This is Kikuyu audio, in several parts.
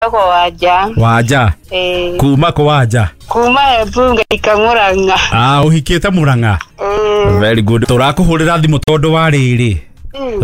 Njĩtagwo Wanja. Wanja? Ĩĩ. Kuma kũ, Wanja? Kuma Embunge Ikamũrang'a. Ah, ũhikĩte Mũrang'a? Ĩĩ. Very good. Tũrakũhũrĩra thimũ tondũ wa rĩrĩ,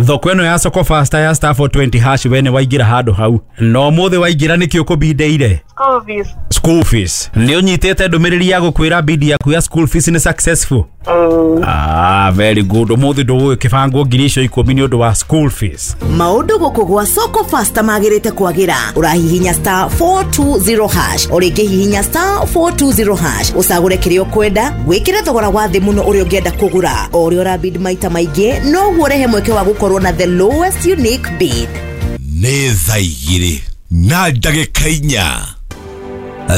thoko ĩno ya Soko Fasta ya *420#, we nĩ waingĩra handũ hau na ũmũthĩ waingĩra nĩkĩ ũkũbindeire? School fees. School fees. Nĩ ũnyitĩte ndũmĩrĩri ya gũkwĩra bid yaku ya school fees nĩ successful? Ĩĩ. Ah, very good. Ũmũthĩ ndũgũgĩkĩbangwo 10,000 nĩ ũndũ wa school fees. Maũndũ gũkũ gwa Soko Fasta magĩrĩte kwagĩra. Ũrahihinya *420#, o rĩngĩ hihinya *420#, ũcagũre kĩrĩa ũkwenda, wĩkĩre thogora wa thĩ mũno ũrĩa ũngĩenda kũgũra. O ũrĩa ũrabid maita maingĩ, noguo ũrehe mweke wa gũkorwo na the lowest unique bid. Nĩ thaa 4:04.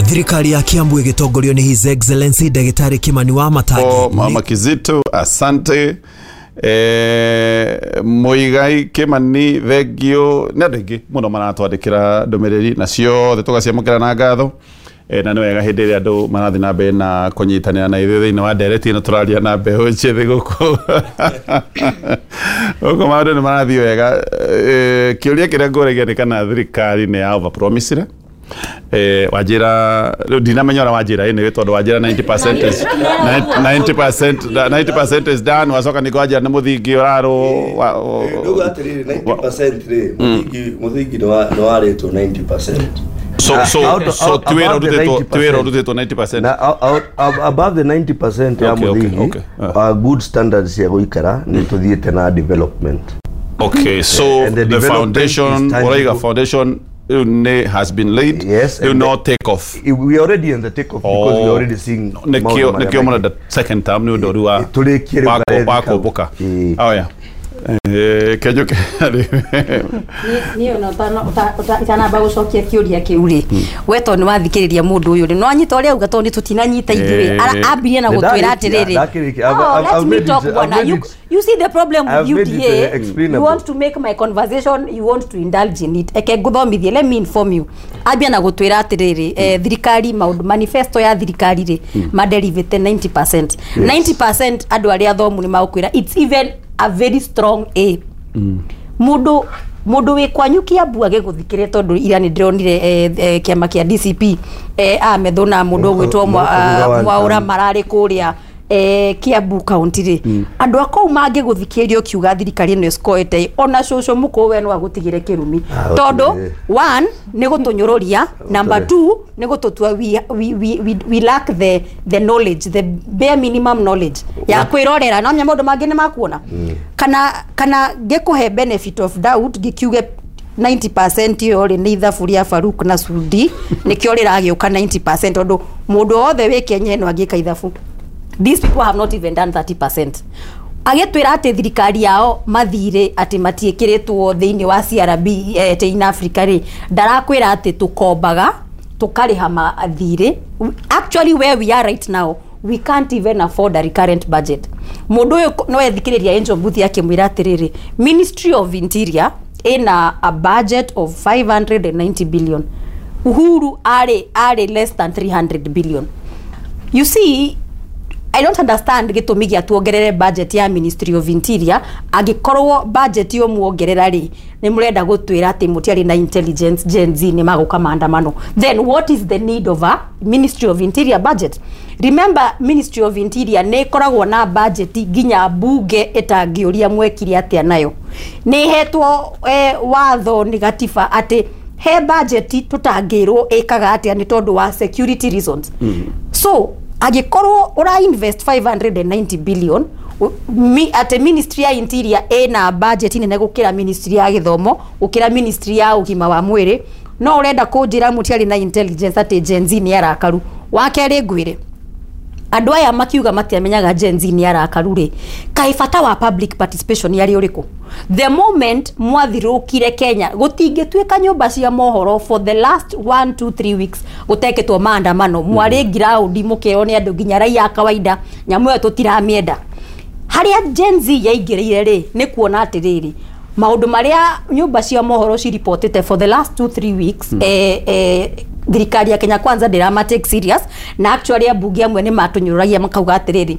Thirikari ya Kiambu ĩgĩtongorio nĩ His Excellency Ndagĩtarĩ Kimani wa Matangi. O, Mama Kizito, asante. Muigai Kimani, thengio. Nĩ andũ aingĩ mũno maratwandĩkĩra ndũmĩrĩri na ciothe tũgaciamũkĩra na ngatho. Na nĩ wega hĩndĩ ĩrĩa andũ marathiĩ na mbere na kũnyitanĩra na ithuĩ thĩinĩ wa ndereti ĩno tũraria na mbeũ njĩthĩ gũkũ gũkũ, maũndũ nĩ marathiĩ wega. Kĩũria kĩrĩa ngũragia nĩ kana thirikari nĩ ya overpromisire. Wanjĩra rĩu ndinamenya ũrĩa wanjĩra ĩnĩ, tondũ wanjĩra 90% is 90% is done, wacoka ningĩ wanjĩra nĩ mũthingi ũrarwo. Ndugu, atĩrĩrĩ, 90% rĩ, mũthingi nĩ warĩtwo 90%. So so ti wĩra Above the ũrutĩtwo, ti wĩra 90%. ũrutĩtwo 90%. Na above the 90% ya mũthingi, good standards cia gũikara, nĩ tũthiĩte na development. Okay, so And the the development foundation is tangible. ũraiga foundation rĩu nĩ has been laid. Yes, rĩu and no take off. We are already in the take off because we are already seeing nĩkĩo maũndũ marĩa nĩkĩo mũrenda second term nĩ ũndũ rĩu wa Tũrĩkie rĩu wa kau. kũmbũka. Ĩĩ. Oh yeah. Kenjoke. Niĩ ona itanamba gũcokia kĩũria kĩu rĩ, we tondũ nĩ wathikĩrĩria mũndũ ũyũ rĩ, no anyita ũrĩa auga, tondũ nĩ tũtinanyita ithuĩ. Ambirie na gũtwĩra atĩrĩrĩ. Ndakĩrĩkia. Oh, let I've me made talk, it- I've bwana. made You, you see the problem with I've made it, UDA, you explainable. want to make my conversation, you want to indulge in it. Eke ngũthomithie, let me inform you. Ambia na gũtwĩra atĩrĩrĩ, thirikari maũndũ manifesto ya thirikari rĩ, maderivĩte 90%. 90%, andũ arĩa athomu nĩ magũkwĩra it's even a very strong A. Mũndũ wĩ kwanyu Kiambu agĩgũthikĩrĩria, tondũ ira nĩ ndĩronire kĩama kĩa DCP, Ametho na mũndũ ũgwĩtwo Mũka thutha wa Mwaũra term. mararĩ kũrĩa Kiambu County rĩ, andũ a kũu mangĩgũthikĩrĩria ũkiuga thirikari ĩno ĩscoete, ona cũcũ mũkũũ we no agũtigĩre kĩrumi, Ah, tondũ gũtirĩ. one, nĩ gũtũnyũrũria, number two, nĩ gũtũtua we lack the knowledge, the bare minimum knowledge ya kwĩrorera no maũndũ mangĩ nĩ makuona. Kana ngĩkũhe benefit of doubt, ngĩkiuge 90% ĩyo rĩ, nĩ ithabu rĩa Faruk na Sudi nĩkĩo rĩragĩũka 90%, tondũ mũndũ wothe wĩ Kenya ĩno angĩka ithabu, these people have not even done 30%. Agĩtwĩra atĩ thirikari yao mathirĩ atĩ matiĩkĩrĩtwo thĩinĩ wa CRB, in Africa rĩ, ndarakwĩra atĩ tũkombaga tũkarĩha mathirĩ. Actually, where we are right now, we can't even afford a recurrent budget. Mũndũ ũyũ no ethikĩrĩria Angel Mbuthi akĩmwĩra atĩrĩrĩ, Ministry of Interior ĩna a budget of 590 billion. Uhuru arĩ less than 300 billion. You see, I don't understand gĩtũmi gĩa tuongerere budget ya Ministry of Interior angĩkorwo budget yo muongerera rĩ, nĩ mũrenda gũtwĩra atĩ mũtiarĩ na intelligence Gen Z nĩ magũka maandamano. Then what is the need of a Ministry of Interior budget? Remember, Ministry of Interior nĩ ĩkoragwo na budget nginya bunge ĩtangĩũria mwekire atĩa nayo. Nĩ ĩhetwo watho nĩ gatiba atĩ he budget tũtangĩrwo ĩkaga atĩa nĩ tondũ wa security reasons. So angĩkorwo ũra invest 590 billion atĩ Ministry ya Interior ĩna budget nene gũkĩra Ministry ya Gĩthomo, gũkĩra Ministry ya Ũgima wa Mwĩrĩ, no ũrenda kũnjĩra mũtiarĩ na intelligence atĩ Gen Z nĩ arakaru? Wa kerĩ, ngwĩre, andũ aya makiuga matiamenyaga Gen Z nĩ arakaru rĩ, kaĩ bata wa public participation yarĩ ũrĩkũ? The moment mwathirũkire Kenya, gũtingĩtuĩka nyũmba cia mohoro for the last 1 2 3 weeks gũtekĩtwo maandamano, mwarĩ ngiraundi mũkerwo nĩ andũ nginya raia a kawaida nyamũ ĩyo tũtiramĩenda. Harĩa Gen Z yaingĩrĩire rĩ, nĩ kuona atĩrĩrĩ, maũndũ marĩa nyũmba cia mohoro ciripotĩte for the last 2 3 weeks, thirikari ya Kenya Kwanza ndĩrama take serious, na actually ambunge amwe nĩ matũnyũrũragia makauga atĩrĩrĩ,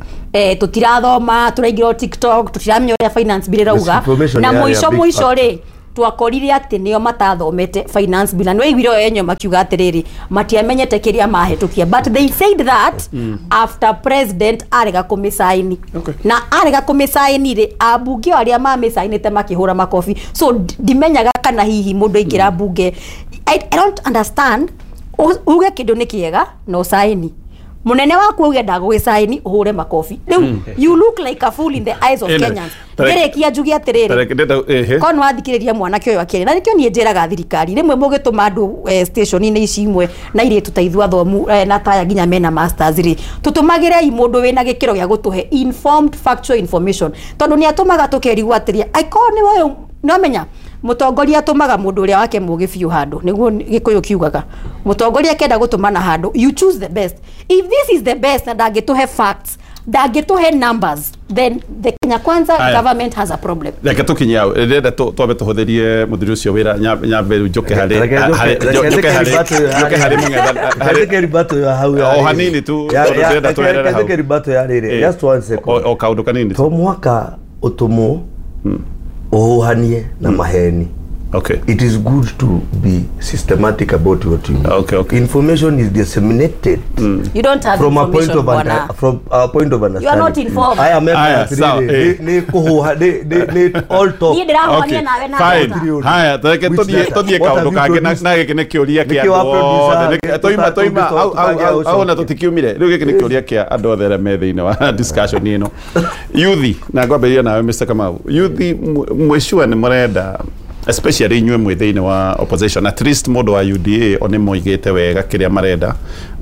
tũtirathoma, tũraingĩra o TikTok, tũtiramenya ũrĩa finance bill ĩrauga. Misinformation Na yarĩ a mũico big mũico factor. rĩ, Twakorire atĩ nĩo matathomete finance bill, na nĩ waiguire o enyo makiuga atĩrĩrĩ, matiamenyete kĩrĩa mahĩtũkia, but they said that after president arega kũmĩcaini. Na arega kũmĩcaini rĩ, ambunge o arĩa mamĩcainĩte makĩhũra makobi. So ndimenyaga kana hihi mũndũ aingĩra mbunge, I don't understand. Uge kĩndũ nĩ kĩega na ũcaini, mũnene waku auge ndagũgĩcaini, ũhũre makobi. Rĩu you look like a fool in the eyes of Ĩno, Kenyans. Ngĩrĩkia njuge atĩrĩrĩ, Tareke ehe. korwo nĩ wathikĩrĩria mwanake ũyũ akĩaria, na nĩkĩo niĩ njĩraga thirikari rĩmwe mũgĩtũma andũ station-inĩ ici imwe na irĩtu ta ithuĩ athomu na taya nginya mena masters rĩ, tũtũmagĩrei mũndũ wĩna gĩkĩro gĩa gũtũhe informed factual information, tondũ nĩ atũmaga tũkerigwo atĩrĩ, angĩkorwo nĩ ũyũ nĩwamenya mũtongoria atũmaga mũndũ ũrĩa wake mũgĩ biũ handũ, nĩguo gĩkũyũ kiugaga mũtongoria akĩenda gũtũmana handũ, you choose the best. If this is the best na ndangĩtũhe facts, ndangĩtũhe numbers, then the Kenya Kwanza Aya. government has a problem. Reke tũkinye hau, ndĩrenda twambe tũhũthĩrie mũthuri ũcio wĩra, nyambe rĩu njũke harĩ njũke harĩ mũng'etha harĩ O hanini tu, tondũ ndĩrenda tũherere hau. Rebuttal ya rĩrĩ, just one second. O kaũndũ kanini tu. To mwaka ũtũmwo ũhũhanie na maheni. It is good to be systematic about what you do. Information is disseminated You don't have from a point information, of bwana. From a point of understanding. You are not informed. I am Aya, sawa, ni kuhuha ni all talk. Niĩ ndĩrahuhania nawe na Fine. data. Haya, tareke Which data? tũthiĩ What kaũndũ have you kangĩ produced? na gĩkĩ nĩ kĩũria kĩa Nĩkĩo andũ wa othe. producer Toima tũngĩcoka hau ona tũtikiumire. Rĩu gĩkĩ nĩ kĩũria kĩa andũ othe arĩa me thĩinĩ wa discussion ĩno. Yuthi, na ngwambĩrĩria nawe Mr. Kamau. Yuthi, mwĩ sure nĩ mũrenda, especially inyuĩ mwĩ thĩinĩ wa opposition, at least mũndũ wa UDA o nĩ moigĩte wega kĩrĩa marenda.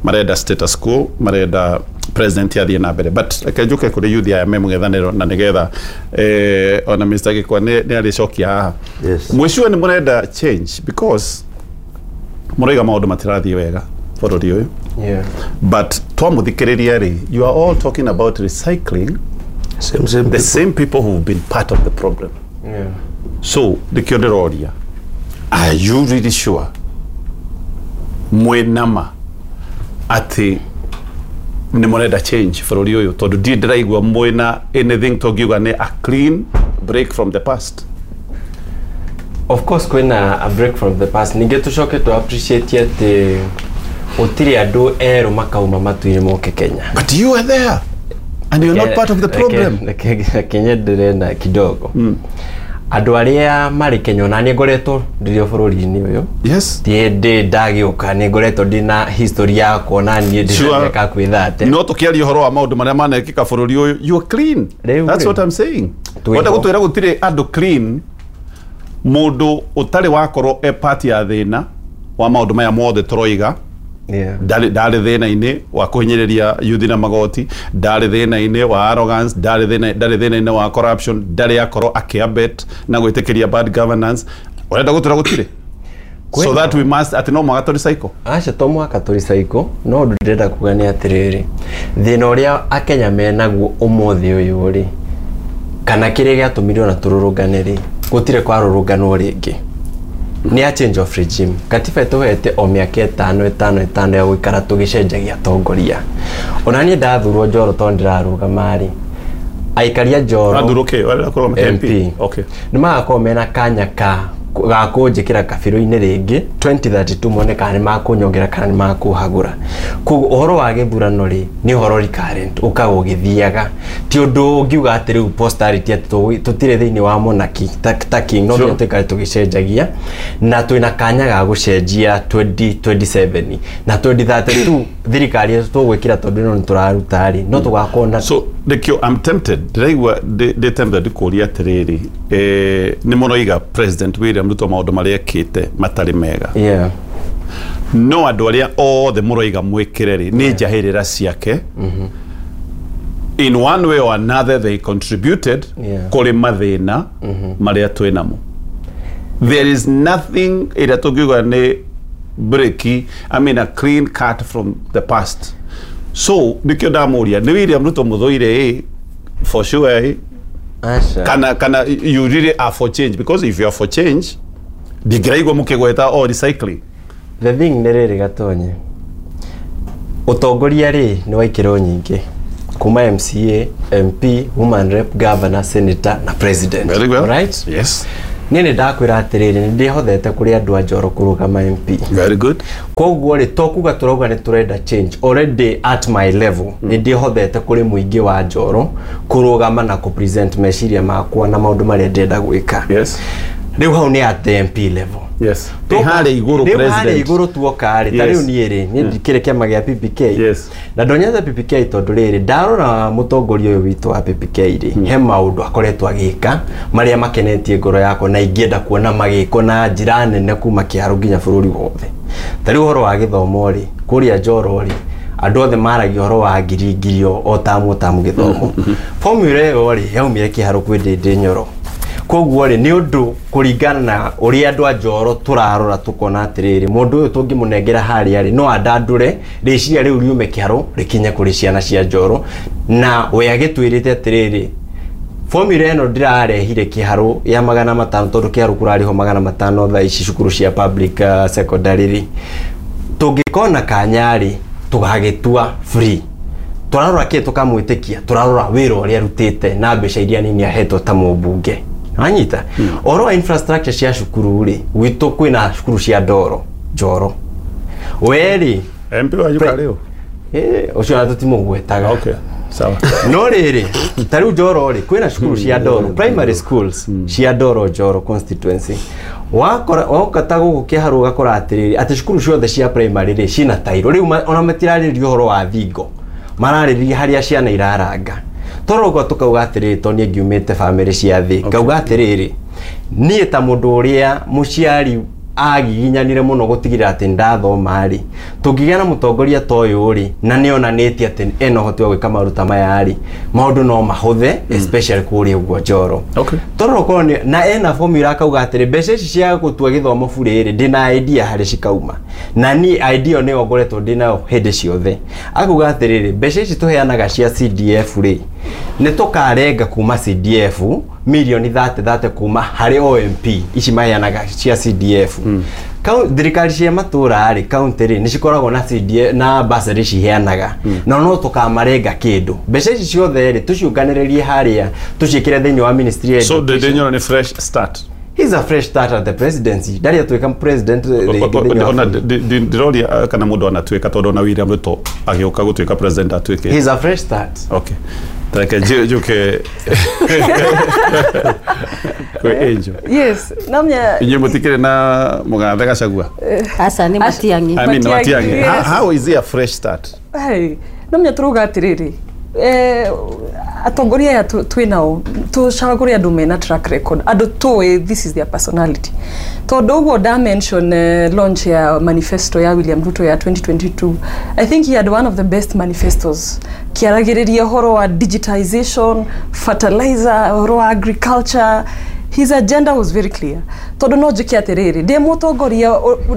Marenda status quo, marenda president athiĩ na mbere, but reke njũke kũrĩ youth aya me mũng'ethanĩro na nĩgetha ona Mr. Gĩkwa nĩ arĩcokia haha. Yes. Mwĩ sure nĩ mũrenda change? Because mũraiga maũndũ matirathiĩ wega bũrũri ũyũ, but twamũthikĩrĩria rĩ, you are all talking about recycling Same the people. same people who've been part of the problem. So nĩkĩo ndĩroria, are you really sure mwĩ nama atĩ nĩ mũrenda change bũrũri ũyũ? Tondũ ndirĩ ndĩraigua mwĩna anything tũngiuga nĩ a clean break from the past. Of course kwĩna a break from the past. Ningĩ tũcoke tũ appreciate atĩ gũtirĩ andũ erũ makauma matu-inĩ moke Kenya. But you are there and you're not part of the problem. Reke nyendelee na kidogo. Andũ arĩa marĩ Kenya, ona niĩ ngoretwo ndĩrĩ o bũrũri-inĩ ũyũ, ti hĩndĩ ndagĩũka, nĩ ngoretwo ndĩna history yakwa na niĩ ndĩ na mĩaka kwĩ 30. No tũkĩaria ũhoro wa maũndũ marĩa manekĩka bũrũri ũyũ, you are clean. Rĩu That's rĩ. what I'm saying. Twĩho. Wenda gũtwĩra gũtirĩ andũ clean, mũndũ ũtarĩ wakorwo e part ya thĩna wa maũndũ maya mothe tũroiga? Ndarĩ thĩna-inĩ wa kũhinyĩrĩria yuthi na magoti, ndarĩ thĩna-inĩ wa arrogance, ndarĩ thĩna-inĩ wa corruption, ndarĩ akorwo akĩabet na gwĩtĩkĩria bad governance. Ũrenda gũtwĩra gũtirĩ, so that we must atĩ no mũhaka tũrecycle? Aca, to mũhaka tũrecycle, no ũndũ ndĩrenda kuga nĩ atĩrĩrĩ, thĩna ũrĩa akenya menaguo ũmũthĩ ũyũ rĩ, kana kĩrĩa gĩatũmire ona tũrũrũngane rĩ, gũtirĩ kwarũrũnganwo rĩngĩ, nĩ a change of regime. Katiba ĩtũhete o mĩaka 5 5 5 ya gũikara tũgĩcenjagia atongoria. Ona niĩ ndathurwo Njoro, tondũ ndĩrarũgama rĩ, aikaria Njoro Wathurwo kĩ? Ũrenda kũrũgama MP. Okay. Nĩ magakorwo mena kanya ka ga kũnjĩkĩra kabirũ-inĩ rĩngĩ 2032, mone kana nĩ makũnyongera kana nĩ makũhagũra. Koguo ũhoro wa gĩthurano rĩ, nĩ ũhoro recurrent, ũkaga ũgĩthiaga, ti ũndũ ũngiuga atĩ rĩu posterity atĩ tũtirĩ thĩinĩ wa monarchy ta king, no nginya tũikare tũgĩcenjagia, na twĩna kanya ga gũcenjia 2027 na 2032 thirikari ĩyo tũgwĩkĩra, tondũ ĩno nĩ tũraruta rĩ, no tũgakorwo na So nĩkĩo I'm tempted, ndĩraigua ndĩ tempted kũria atĩrĩrĩ, nĩ mũroiga President William Ruto maũndũ marĩa ekĩte matarĩ mega, no andũ arĩa othe mũroiga mwĩkĩre rĩ, nĩ njahĩrĩra ciake. In one way or another they contributed kũrĩ mathĩna marĩa twĩ namo. There is nothing ĩrĩa tũngiuga nĩ break, I mean, a clean cut from the past. So nĩkĩo ndamũria, nĩ William Ruto mũthũire ĩ for sure ĩ, Aca. kana you really are for change? Because if you are for change, ndingĩraigua mũkĩgweta o recycling. The thing nĩ rĩrĩ, Gatonye, ũtongoria rĩ nĩ wa ikĩro nyingĩ, kuma MCA, MP, woman rep, governor, senator na president. Very well. Right? Yes. Niĩ nĩ ndakwĩra atĩrĩrĩ, nĩ ndĩhothete kũrĩ andũ a Njoro kũrũgama MP. Very good. Koguo rĩ, to kuga tũrauga nĩ tũrenda change, already at my level nĩ ndĩhothete kũrĩ mũingĩ wa Njoro kũrũgama na kũ present meciria makwa na maũndũ marĩa ndĩrenda gwĩka. Yes. Rĩu hau nĩ at the MP level. Yes. Harĩa igũrũ Rĩu president. harĩa igũrũ tuoka rĩ, ta rĩu niĩ rĩ, niĩ ndikĩrĩ kĩama gĩa PPK. Yes. Na ndonyete PPK tondũ rĩrĩ, ndarora mũtongoria ũyũ witũ wa PPK rĩ, he maũndũ akoretwo agĩka marĩa makenetie ngoro yakwa na ingĩenda kuona magĩkwo na njĩra nene kuma kĩharo nginya bũrũri wothe. Ta rĩu ũhoro wa gĩthomo rĩ, kũrĩa Njoro rĩ, andũ othe maragia ũhoro wa ngiri ngiri o tamu tamu gĩthomo. Formula ĩyo rĩ, yaumire kĩharo kwĩ Ndĩndĩ Nyoro. Koguo rĩ, nĩ ũndũ kũringana na ũrĩa andũ a Njoro tũrarora tũkona atĩrĩrĩ, mũndũ ũyũ tũngĩmũnengera harĩa rĩ, no andandũre rĩciria rĩu riume kĩharo rĩkinye kũrĩ ciana cia Njoro. Na we agĩtwĩrĩte atĩrĩrĩ, formula ĩno ndĩrarehire kĩharo ya 500 tondũ kĩharo kũrarĩhwo 500 thaa ici cukuru cia public secondary rĩ, tũngĩkona kanya rĩ, tũgagĩtua free. Tũrarora kĩ tũkamwĩtĩkia, tũrarora wĩra ũrĩa arutĩte na mbeca iria nini ahetwo ta mũmbunge. Wanyita? Ũhoro wa infrastructure cia cukuru rĩ, gwitũ kwĩna cukuru cia ndoro Njoro. We rĩ, MP wanyu karĩ ũ? Ũcio ona tũtimũgwetaga. Okay. Sawa. No rĩrĩ, ta rĩu Njoro rĩ, kwĩna cukuru cia ndoro, primary schools cia ndoro Njoro constituency. Wakora woka ta gũkũ kĩharo ũgakora atĩrĩrĩ, atĩ cukuru ciothe cia primary rĩ ciĩna tairo. Rĩu ona matirarĩrĩria ũhoro wa thingo, mararĩrĩria harĩa ciana iraranga. Torogo tukauga atĩrĩrĩ, to niĩ ngiumĩte bamĩrĩ cia thĩ, ngauga atĩrĩrĩ, niĩ ta mũndũ ũrĩa mũciari agiginyanire mũno gũtigĩrĩra atĩ ndathoma rĩ, tũngĩgĩa na mũtongoria ta ũyũ rĩ, na nĩ onanĩtie atĩ ena ũhoti wa gwĩka maũndũ ta maya rĩ, maũndũ no mahũthe, especially kũrĩa ũguo Njoro. Okay. Torogo na ena formula akauga atĩrĩ, mbeca ici cia gũtua gĩthomo bure rĩ, ndĩna idea harĩ cikauma, na niĩ idea nĩyo ngoretwo ndĩnayo hĩndĩ ciothe. Akauga atĩrĩrĩ, mbeca ici tũheanaga cia CDF rĩ, nĩ tũkarenga kuma CDF milioni 30 kuma harĩ OMP ici maheanaga cia CDF. Thirikari cia matũra rĩ, county rĩ, nĩ cikoragwo na CDF na bursary ciheanaga, na no tũkamarenga kĩndũ. Mbeca ici ciothe rĩ, tũciũnganĩrĩrie harĩa, tũciĩkĩre thĩinĩ wa ministry ya So education. Ndĩndĩ Nyoro nĩ fresh start. He's a fresh start at the presidency. Ndarĩ atuĩka president rĩngĩ thĩinĩ wa Ona bũrũri. ndĩroria kana mũndũ anatuĩka, tondũ ona William Ruto agĩũka gũtuĩka president atuĩke. He's a fresh start. Okay. Tareke njuke kwĩ Angel. Yes, namya Inyuĩ mũtikĩrĩ na mũgathe Gachagua? Aca nĩ Matiang'i. I mean, Matiang'i. Yes. How is he a fresh start? Hey, namya tũrauga atĩrĩrĩ, atongoria aya twĩ nao tũcagũre andũ mena track record, andũ tũĩ this is their personality. Tondũ ũguo nda mention launch ya manifesto ya William Ruto ya 2022, I think he had one of the best manifestos, kĩaragĩrĩria ũhoro wa digitization, fertilizer, ũhoro wa agriculture. His agenda was very clear. Tondũ no njĩke atĩrĩrĩ, ndĩ mũtongoria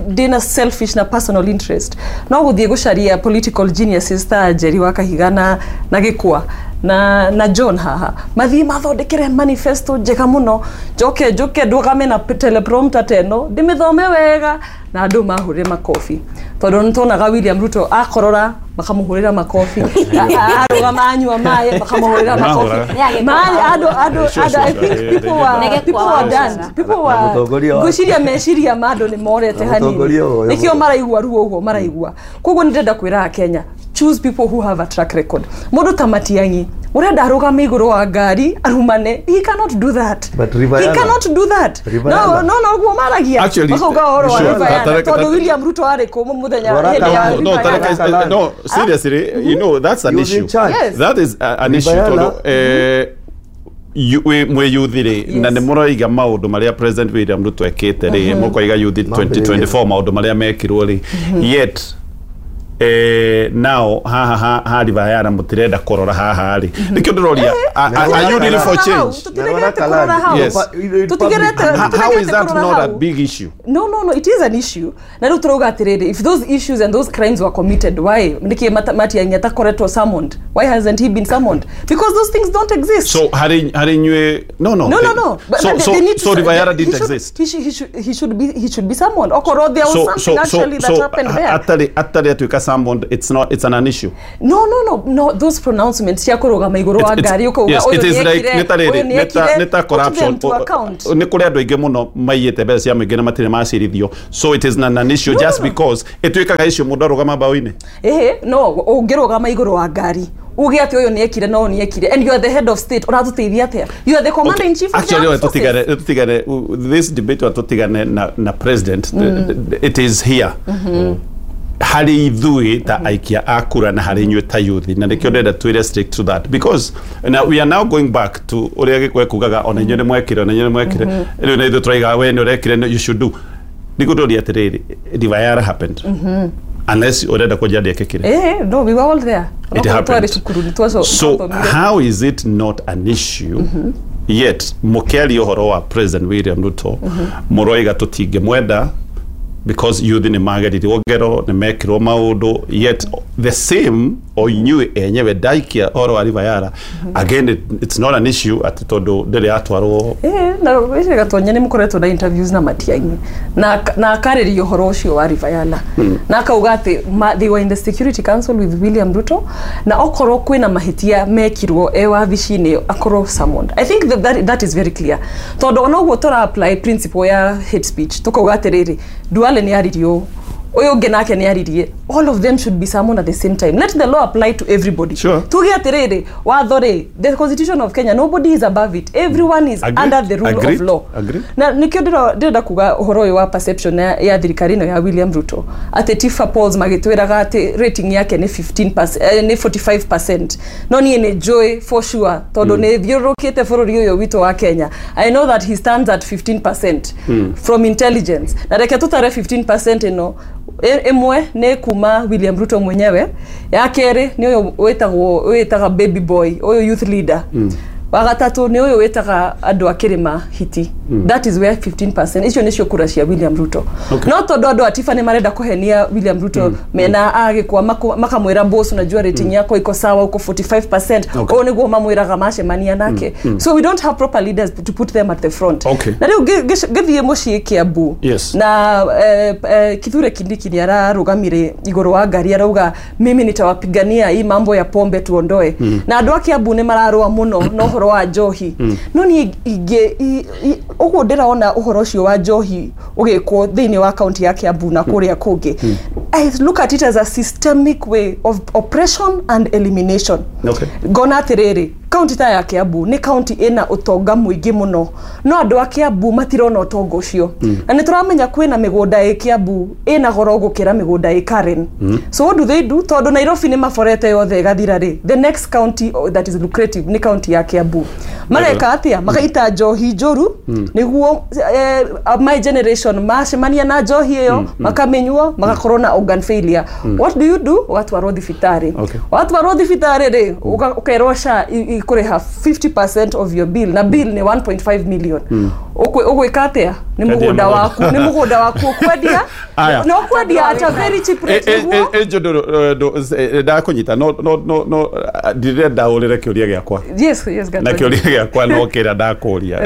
ndĩna selfish na personal interest, no gũthiĩ gũcaria political geniuses ta Njeri wa Kahiga na Gĩkwa na John haha, mathiĩ mathondekere manifesto njega mũno, njoke njoke ndũgame na teleprompter ta ĩno ndĩmĩthome wega na andũ mahũrĩre makobi. Tondũ nĩ tuonaga William Ruto akorora makamũhũrĩra makobi, arũgama anyua maĩ makamũhũrĩra makobi. Maĩ andũ I think people were done. People were ngwĩciria meciria ma andũ nĩ morete hanini, nĩkĩo maraigua ruo ũguo maraigua. Koguo nĩ ndĩrenda kwĩra Akenya, choose people who have a track record. Mũndũ ta Matiang'i mũrenda arũgame igũrũ wa ngari arumane, he cannot do that. But River he Yala. cannot do that. River No no ũguo maragia makauga ũhoro wa River Yala, tondũ William Ruto arĩ kũ mũthenya hĩndĩ ya No, River Yala. no, seriously, you know that's an issue. Yes. That is an issue tondũ mwĩ youth rĩ, na nĩ mũroiga maũndũ marĩa President William Ruto ekĩte rĩ, mũkoiga youth 2024 maũndũ marĩa mekirwo rĩ, yet now haha ha River Yala mũtirenda kũrora haha rĩ, nĩkĩo ndĩroria, are you really for change? Yes. How is that not a big issue? No, it is an issue. Na rĩu tũrauga atĩrĩrĩ, if those issues and those crimes were committed, why nĩkĩ Matiang'i atakoretwo summoned? Why hasn't he been summoned? Because those things don't exist. So harĩ inyuĩ no. But So they need to so River Yala didn't exist. He should be summoned. Okorwo there was something actually that happened there. Atarĩ atuĩka summoned, it's not, it's an issue. No, those pronouncements cia kũrũgama igũrũ wa ngari ũkauga Yes, ũyũ it is like nĩekire, nĩ ta ũyũ rĩrĩ, nĩekire, nĩ ta put corruption. them to account. Nĩ kũrĩ andũ aingĩ mũno maiyĩte mbeca cia mũingĩ na matirĩ macirithio, so it is not an issue just because ĩtuĩkaga issue mũndũ arũgama mbaũ-inĩ. Ĩhĩ, no ũngĩrũgama igũrũ wa ngari uge atĩ ũyũ nĩekire na ũyũ nĩekire, and you are the head of state, ũratũteithia atĩa? You are the commander in chief of the Actually, armed forces. tutigane this debate, tutigane na president. It is here harĩ ithuĩ ta aikia a kura na harĩ inyuĩ ta youth, na nĩkĩo ndĩrenda twĩ restrict to that, because now we are now going back to ũrĩa Gĩkũyũ kugaga, ona inyuĩ nĩ mwekire, ona inyuĩ nĩ mwekire, rĩu na ithuĩ tũraiga we nĩ ũrekire, you should do. Nĩngũndũria atĩrĩrĩ, River happened, unless ũrenda kũnjia ndĩekĩkire. No, we were all there. It Onakorwo happened. twarĩ cukuru nĩ So twathomire. how is it not an issue, yet mũkĩaria ũhoro wa President William Ruto mũroiga tũtingĩmwenda because youth nĩ magerirwo ngero, nĩ mekirwo maũndũ, yet the same o inyuĩ enyewe ndaikia ũhoro wa River Yara again, it's not an issue atĩ tondũ ndĩrĩ yatwarwo? Na wĩce Gatonya nĩ mũkoretwo na interviews na Matiang'i na akarĩria ũhoro ũcio wa River Yala na akauga atĩ they were in the Security Council with William Ruto, na okorwo kwĩna mahĩtia mekirwo e wabici-inĩ akorwo summoned. I think that is very clear, tondũ ona ũguo tũra apply principle ya hate speech, tũkauga atĩrĩrĩ, Duale nĩ aririe ũũ, ũyũ ũngĩ nake nĩ aririe, all of them should be summoned at the same time. Let the law apply to everybody. Tuge atĩrĩrĩ, watho rĩ, the Constitution of Kenya, nobody is above it, everyone is Agreed. under the rule Agreed. of law. Agreed. Na nikio ndĩrenda kuga ũhoro ũyũ wa perception ya thirikari ĩno ya William Ruto, atĩ Tifa polls magĩtwĩraga atĩ rating yake nĩ 15%, nĩ 45%, no niĩ nĩ njũĩ for sure tondũ nĩ thiũrũrũkĩte bũrũri ũyũ witũ wa Kenya, I know that he stands at 15% from intelligence. Na reke tũtare 15% ĩno, ĩmwe nĩ kuma William Ruto mwenyewe, ya kerĩ nĩ ũyũ wĩtagwo wĩtaga baby boy, ũyũ youth leader, wa gatatũ nĩ ũyũ wĩtaga andũ a kĩrĩma hiti. That is where 15% icio nĩcio kura cia William Ruto. No tondũ andũ a Tifa nĩ marenda kũhenia William Ruto mena agĩkwa makamwĩra, "Boss, unajua rating yako iko sawa, uko 45%." Ũũ nĩguo mamwĩraga macemania nake. So we don't have proper leaders to put them at the front. Na rĩu ngĩthiĩ mũciĩ Kiambu na Kithure Kindiki nĩ ararũgamire igũrũ wa ngari arauga, "Mimi nitawapigania hii mambo ya pombe tuondoe." Na andũ a Kiambu nĩ mararũa mũno na ũhoro wa njohi, no niĩ ingĩ ũguo ndĩrona ũhoro ũcio wa njohi ũgĩkwo thĩinĩ wa kaunti ya Kiambu na kũrĩa kũngĩ, I look at it as a systemic way of oppression and elimination. Ngona atĩrĩrĩ, kaunti ta ya Kiambu nĩ kaunti ĩna ũtonga mũingĩ mũno, no andũ a Kiambu matirona ũtonga ũcio. Na nĩ tũramenya kwĩna mĩgũnda ĩ Kiambu ĩna goro gũkĩra mĩgũnda ĩ Karen. So what do they do? Tondũ Nairobi nĩ maborete yothe ĩgathira rĩ, the next county that is lucrative nĩ kaunti ya Kiambu. Mareka atĩa? Magaita njohi njũru nĩguo my generation macemania na njohi ĩyo makamĩnyua magakorwo na organ failure. What do you do? Ũgatwarwo thibitarĩ. Watwarwo thibitarĩ rĩ, ũkerwo SHA ikũrĩha 50% of your bill, na bill nĩ 1.5 million. Ũgwĩka atĩa? Nĩ Kendia mũgũnda mũgũnda. waku, nĩ mũgũnda waku ũkwendia. Aya. No kwendia at a very cheap rate nĩguo Ndakũnyita, no ndirenda ũrĩre kĩũria gĩakwa. Yes. Na Gatoni. kĩũria gĩakwa no kĩrĩa ndakũria,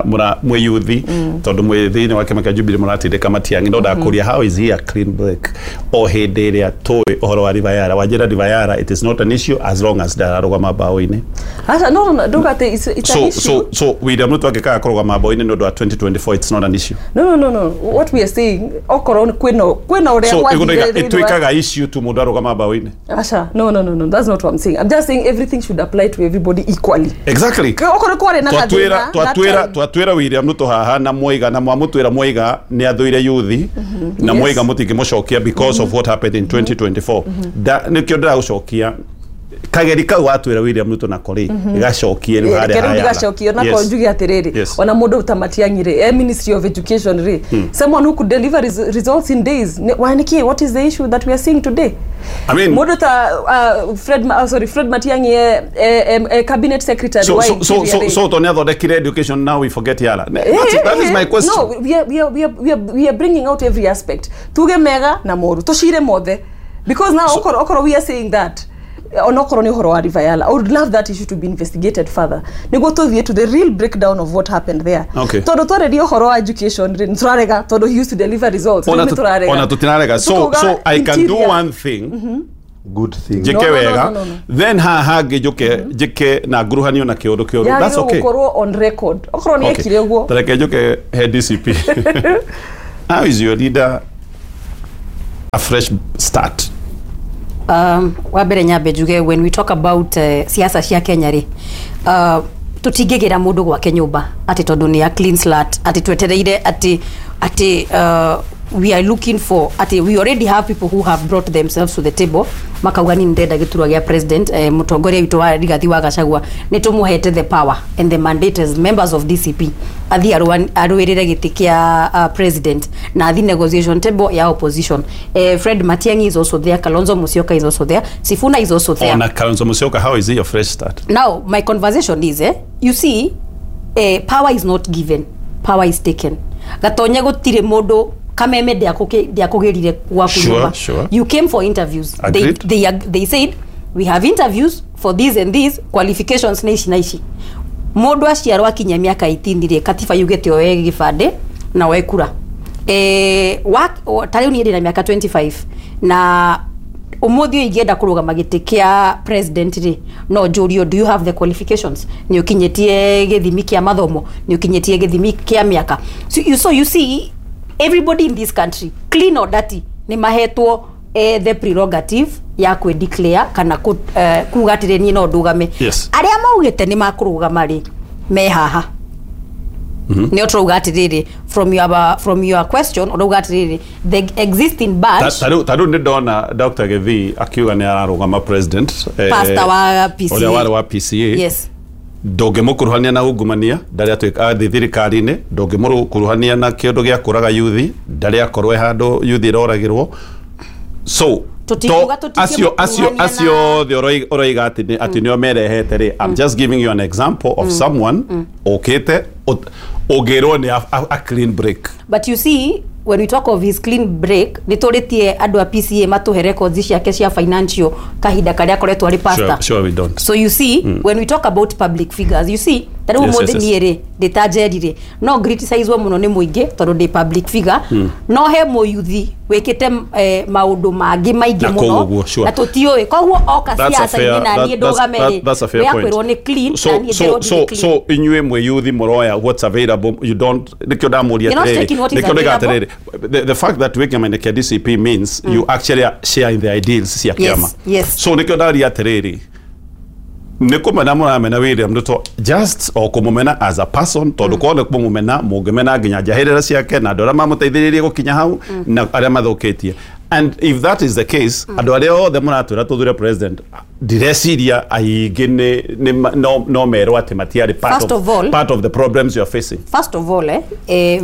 mũra mwĩ yuthi, tondũ mwĩ thĩinĩ wa kĩama kĩa Jubilee mũratindĩka Matiang'i, no ndakũria, how is he a clean break o hĩndĩ ĩrĩa tũĩ ũhoro wa River Yala? Wanjĩra River Yala it is not an issue as long as ndararũgama mbaũ-inĩ. Aca, no, nduga atĩ it's an So issue. so William Ruto angĩkaga kũrũgama mbaũ-inĩ nĩ ũndũ wa 2024, it's not an issue? No, what we are saying, okorwo kwĩna ũrĩa So gwathire ĩgũndaiga thĩinĩ wa- ĩtuĩkaga issue tu mũndũ arũgama mbaũ-inĩ? Aca, no, that's not what I'm saying. I'm just saying everything should apply to everybody equally. Okorwo kwarĩ na Twatwĩra gathĩna that twatwĩra time. twatwĩra William Ruto haha na Mwaiga, na mwamũtwĩra Mwaiga nĩ athũire yuthi na Mwaiga mũtingĩmũcokia because of what happened in 2024. Nĩkĩo ndĩragũcokia kageri kau watwĩra William Ruto nako rĩ, gacokie rĩu harĩa Reke rĩu ha Yala. ndigacokie nako. Njuge atĩrĩrĩ, ona mũndũ ta Matiang'i rĩ, e Ministry of Education rĩ, someone who could deliver results in days. Why nĩkĩ? What is the issue that we are seeing today? I mean, Mũndũ ta Fred, sorry, Fred Matiang'i e cabinet secretary so wa so so Interior so rĩ. so to nĩ athondekire education, now we forget Yala. That is my question. No, we are bringing out every aspect. Tuge mega na moru. Tucire mothe. Because now, so, okoro we are saying that Onokorwo nĩ ũhoro wa River Yala, I would love that issue to be investigated further nĩguo tũthiĩ to the real breakdown of what happened there. Okay. Tondũ twarĩria ũhoro wa education rĩ, nĩtũrarega tondũ he used to deliver results. Ona Rĩu nĩtũrarega. Ona tũtinarega. So Tũkauga so I can do interior. one thing. Good thing. Njĩke No, no, no, wega. no, no, no. Then haha hangĩ njũke njĩke na nguruhanio na kĩũndũ kĩũru. That's Yagĩrĩirwo okay. gũkorwo on record okorwo nĩ ekire ũguo. Tareke njoke he DCP. How is your leader a fresh start? Wa mbere nyambe njuge, when we talk about siasa cia Kenya rĩ, tũtingĩgĩra mũndũ gwake nyũmba atĩ tondũ nĩ a clean slate, atĩ twetereire atĩ we are looking for, atĩ we already have people who have brought themselves to the table, makauga ni ndĩrenda gĩturwa gĩa president. Mũtongoria witũ wa Rigathi wa Gachagua nĩ tũmũhete the power and the mandate as members of DCP athiĩ arũĩrĩre gĩtĩ kĩa president na athi negotiation table ya opposition. Fred Matiang'i is also there, Kalonzo Musyoka is also there, Sifuna is also there. Ona Kalonzo Musyoka, how is he a fresh start? Now my conversation is, you see, power is not given, power is taken. Gatonye, gũtirĩ mũndũ kameme ndiakũgĩrire gwaku nyũmba. You came for interviews. They, Agreed. they said we have interviews for this and this qualifications na ici na ici. Mũndũ aciarwo akinya mĩaka 18 rĩ, katiba yugĩte oe gĩbandĩ na oe kura. Ta rĩu niĩ ndĩna mĩaka 25 na ũmũthĩ ũyũ ingĩenda kũrũgama gĩtĩ kĩa president rĩ, no njũrio, "Do you have the qualifications? Nĩ ũkinyĩtie gĩthimi kĩa mathomo? Nĩ ũkinyĩtie gĩthimi kĩa mĩaka?" So you see, everybody in this country, clean or dirty, nĩ mahetwo the prerogative ya kwĩ declare kana kuga atĩrĩ, "Niĩ no ndũgame." Arĩa maugĩte nĩ makũrũgama rĩ, me haha. Nĩ tũrauga atĩrĩrĩ, from your question ũrauga atĩrĩrĩ, the existing batch. Ta rĩu nĩ ndona Dr. Githii akiuga nĩ ararũgama president, Pastor wa PCA. Ũrĩa warĩ wa PCA. Ndũngĩmũkuruhania na ungumania, ndarĩ atuĩka athiĩ thirikari-inĩ. Ndũngĩmũkuruhania na kĩũndũ gĩa kũraga yuthi, ndarĩ akorwo e handũ yuthi ĩroragĩrwo. So Tũtingiuga acio acio tũtingĩmũkuruhania. Acio othe ũroiga atĩ nĩo merehete rĩ, I'm just giving you an example of someone ũkĩte ũngĩrwo nĩ a clean break. But you see, when we talk of his clean break, nĩ tũrĩtie andũ a PCA matũhe records ciake cia financial kahinda karĩa akoretwo arĩ pastor? Sure, we don't. So you see, when we talk about public figures, you see, ta rĩu ũmũthĩ niĩ rĩ, ndĩ ta Njeri rĩ, no criticizewo mũno nĩ mũingĩ tondũ ndĩ public figure, no he mũyuthi wĩkĩte maũndũ mangĩ maingĩ Na mũno kũu ũguo, sure. na tũtiũĩ. Koguo oka That's a ciaca-inĩ fair- na niĩ ndũgame rĩ, that's a fair point. wĩakwĩrwo nĩ clean So na niĩ so ngĩrwo so ndirĩ clean. so inyuĩ mwĩ yuthi mũroya what's available. You don't, nĩkĩo ndamũria You're not atĩrĩrĩ, taking what is nĩkĩo ndauga available. atĩrĩrĩ, the fact that wĩ kĩama-inĩ kĩa DCP means you actually are sharing the ideals cia kĩama. So nĩkĩo ndaria atĩrĩrĩ, nĩ kũmena mũramena William Ruto just o kũmũmena as a person, tondũ korwo nĩ kũmũmena mũngĩmena nginya njahĩrĩra ciake na andũ arĩa mamũteithĩrĩirie gũkinya hau na arĩa mathũkĩtie. And if that is the case, andũ arĩa othe mũratwĩra tũthure president, ndireciria aingĩ no merwo atĩ matiarĩ part First of all- part of the problems you are facing. First of all,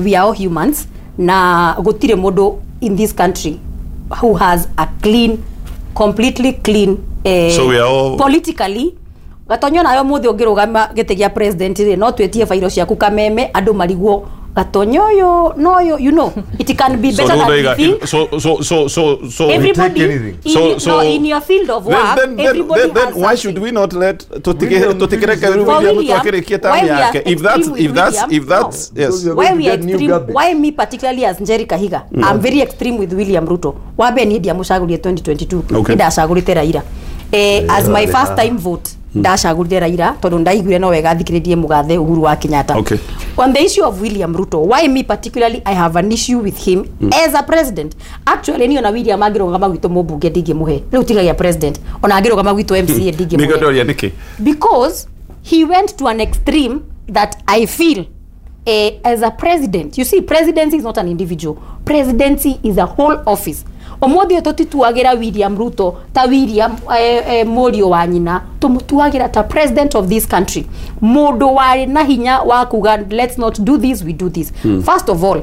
we are all humans na gũtirĩ mũndũ in this country who has a clean, completely clean, So we are all- politically. Gatonyo, nayo mũthĩ ũngĩrũgama gĩtĩ gĩa president rĩ, no twĩtie bairo ciaku kameme, andũ marigwo gatonyo ũyũ noyo. You know, it can be So better than we rĩu think. so Everybody in, so no, in your field of work, then, everybody then has why should we not let tutikireke For William Ruto William, akĩrĩkie term why we are yake, if that's extreme with if that's William, if that's no. Yes. Why we are extreme, why me particularly as Njeri Kahiga, I'm very extreme with William Ruto. Wambe niĩ ndiamũcagũrire 2022. Nĩ ndacagũrĩte Raila as my first time vote. Ndacagũrire Raila tondũ ndaiguire no wega thikĩrĩrie mũgathe Uhuru wa Kenyatta. On the issue of William Ruto, why me particularly I have an issue with him as a president, actually niĩ ona William angĩrũgama gwitũ mũmbunge ndingĩmũhe, rĩu tigagia president, ona angĩrũgama gwitũ MCA Nĩkĩo ndingĩmũhe. ndoria nĩkĩ. Because he went to an extreme that I feel, as a president, you see, presidency is not an individual. Presidency is a whole office. Ũmũthĩ ũyũ tũtituagĩra William Ruto ta William mũriũ wa nyina, tũmũtuagĩra ta president of this country, mũndũ warĩ na hinya wa kuga, "Let's not do this, we do this." First of all,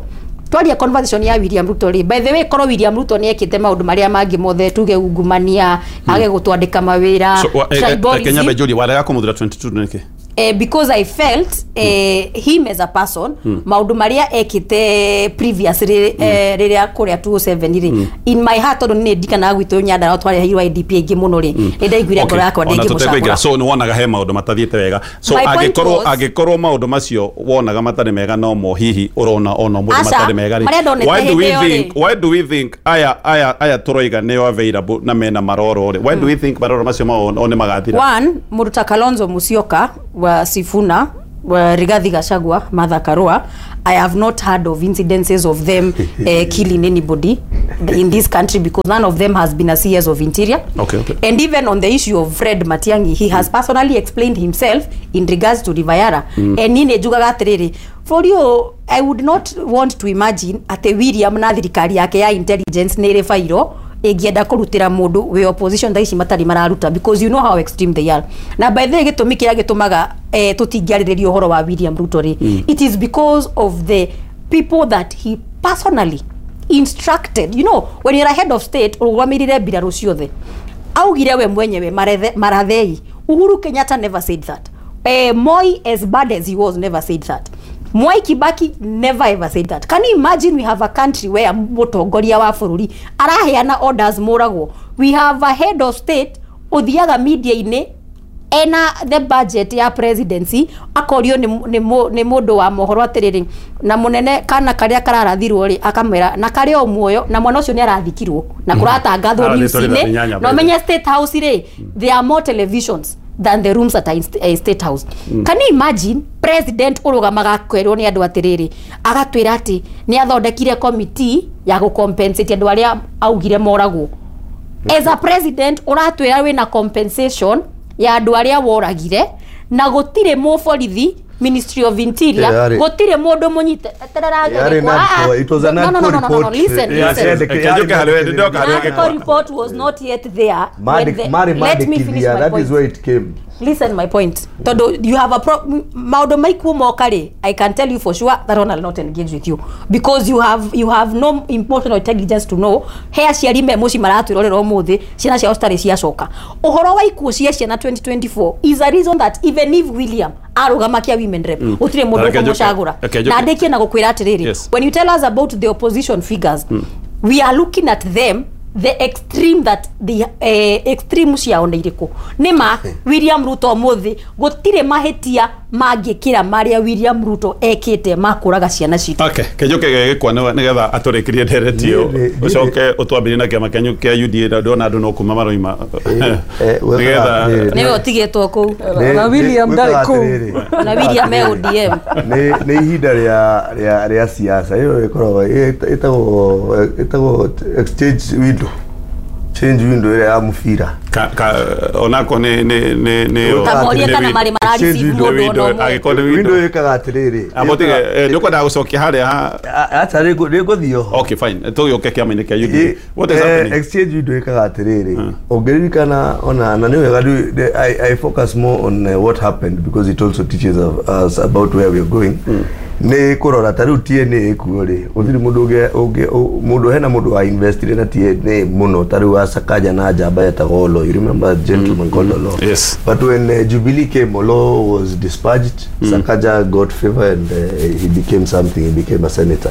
twaria conversation ya William Ruto rĩ, by the way, korwo William Ruto nĩ ekĩte maũndũ marĩa mangĩ mothe, tuge ungumania, age gũtwandĩka mawĩra, So tribalism. Kenya Bejuri warega kũmũthura 22 nĩkĩ? Because I felt him as a person, maundu maria ekite previously, riria kuria 207 ri, in my heart, tondu ni ndikanaga gwitũ Nyandarua twareheirwo IDP aingĩ muno ri, ni ndaiguire ngoro yakwa ndĩngĩmũcagũra. So nĩ wonaga he maũndũ matathiĩte wega, so My point angĩkorwo maũndũ macio wonaga matarĩ mega, no mo hihi ũrona ona mũndũ Aca, matarĩ mega rĩ, marĩa ndonete why do we hĩndĩ ĩyo rĩ. think, why do we think aya tũroiga nĩo available na mena maroro rĩ, why do we think maroro macio mao o nĩ magathira? One, mũndũ ta Kalonzo Musyoka wa Sifuna, wa Rigathi Gachagua, Martha Karua, I have not heard of incidences of them killing anybody in this country because none of them has been a CS of Interior. And even on the issue of Fred Matiang'i, he has personally explained himself in regards to River Yara. And niĩ njugaga atĩrĩrĩ, bũrũri ũyũ, I would not want to imagine atĩ William na thirikari yake ya intelligence nĩ ĩrĩ bairo ĩngĩenda kũrutĩra mũndũ wĩ opposition thaa ici matarĩ mararuta, because you know how extreme they are. Na by the way, gĩtũmi kĩrĩa gĩtũmaga tũtingĩarĩrĩria ũhoro wa William Ruto rĩ, it is because of the people that he personally instructed. You know, when you're a head of state, ũrũgamĩrĩre mbirarũ ciothe, augire we mwenyewe marathei. Uhuru Kenyatta never said that. Moi, as bad as he was, never said that. Mwai Kibaki never ever said that. Can you imagine we have a country where mũtongoria wa bũrũri araheana orders moragwo? We have a head of state ũthiaga media-inĩ ena the budget ya presidency, akorio nĩ mũndũ wa mohoro atĩrĩrĩ, na mũnene kana karĩa kararathirwo rĩ, akamwĩra na karĩ o muoyo, na mwana ũcio nĩ arathikirwo na kũratangathwo Arathĩtwo news-inĩ. rithathi inyanya. Na ũmenye State House rĩ, there are more televisions than the rooms at a State House. Can you imagine president ũrũgamaga akerwo nĩ andũ atĩrĩrĩ, agatwĩra atĩ nĩ athondekire committee ya gũcompensate andũ arĩa augire moragwo? As a president ũratwĩra wĩna compensation ya andũ arĩa woragire, na gũtirĩ mũborithi, Ministry of Interior, gũtirĩ mũndũ mũnyite. Yarĩ NADCO, it was a No, no, no, NADCO no, no, no, report. listen, listen. NADCO report was not yet there when let me finish Marĩ my that point. is where it came. Listen my point, tondu you have a maundu maikuo moka ri, I can tell you for sure that one will not engage with you because you have no emotional intelligence to know he aciari me muci maratwirorera umuthi ciana ciao citarĩ ciacoka. Ũhoro wa ikuũ cia ciana 2024 is a reason that even if William arũgama kia women rep, gũtirĩ mũndũ Reke njoke- ũkũmũcagũra. reke njoke. Na ndĩkie na gũkwĩra atĩrĩrĩ, when you tell us about the opposition figures, we are looking at them, the extreme, that the extreme ciao nĩ irĩkũ? Nĩ ma William Ruto ũmũthĩ gũtirĩ mahĩtia mangĩkĩra marĩa William Ruto ekĩte ma kũraga ciana citũ. Okay, Kĩnjũkĩ gĩgĩkwa nĩgetha atũrĩkĩrie ndereti ĩyo, ũcoke ũtwambĩrie na kĩama kĩanyu kĩa UDA, na ndona andũ no kuma maroima nĩgetha Nĩwe ũtigĩtwo kũu. Na William ndarĩ kũu. Na William e ODM. Nĩ ihinda rĩa siasa ĩyo ĩkoragwo ĩtagwo exchange window, change window ĩrĩa ya mũbira. Onako nĩ Ta morie kana marĩ marareceive mũndũ ona ũmwe. Angĩkorwo nĩ window window ĩkaga atĩrĩrĩ. Abotige nĩ ũkwendaga gũcokia harĩa ha? Acha, nĩngũthiĩ oho. Okay, fine, tũgĩũke kĩama-inĩ kĩa UDA. What is happening? Exchange window ĩkaga atĩrĩrĩ, ũngĩririkana ona na nĩ wega I focus more on what happened because it also teaches us about where we are going. Nĩ kũrora ta rĩu TNA ĩkuo rĩ, gũtirĩ mũndũ ũngĩ mũndũ hena mũndũ wa investire na TNA mũno ta rĩu wa Sakaja na njamba yetagwo Olo. You remember a gentleman called Olo? Yes. But when Jubilee came, Olo was dispatched. Sakaja got favor and he became something. He became a senator.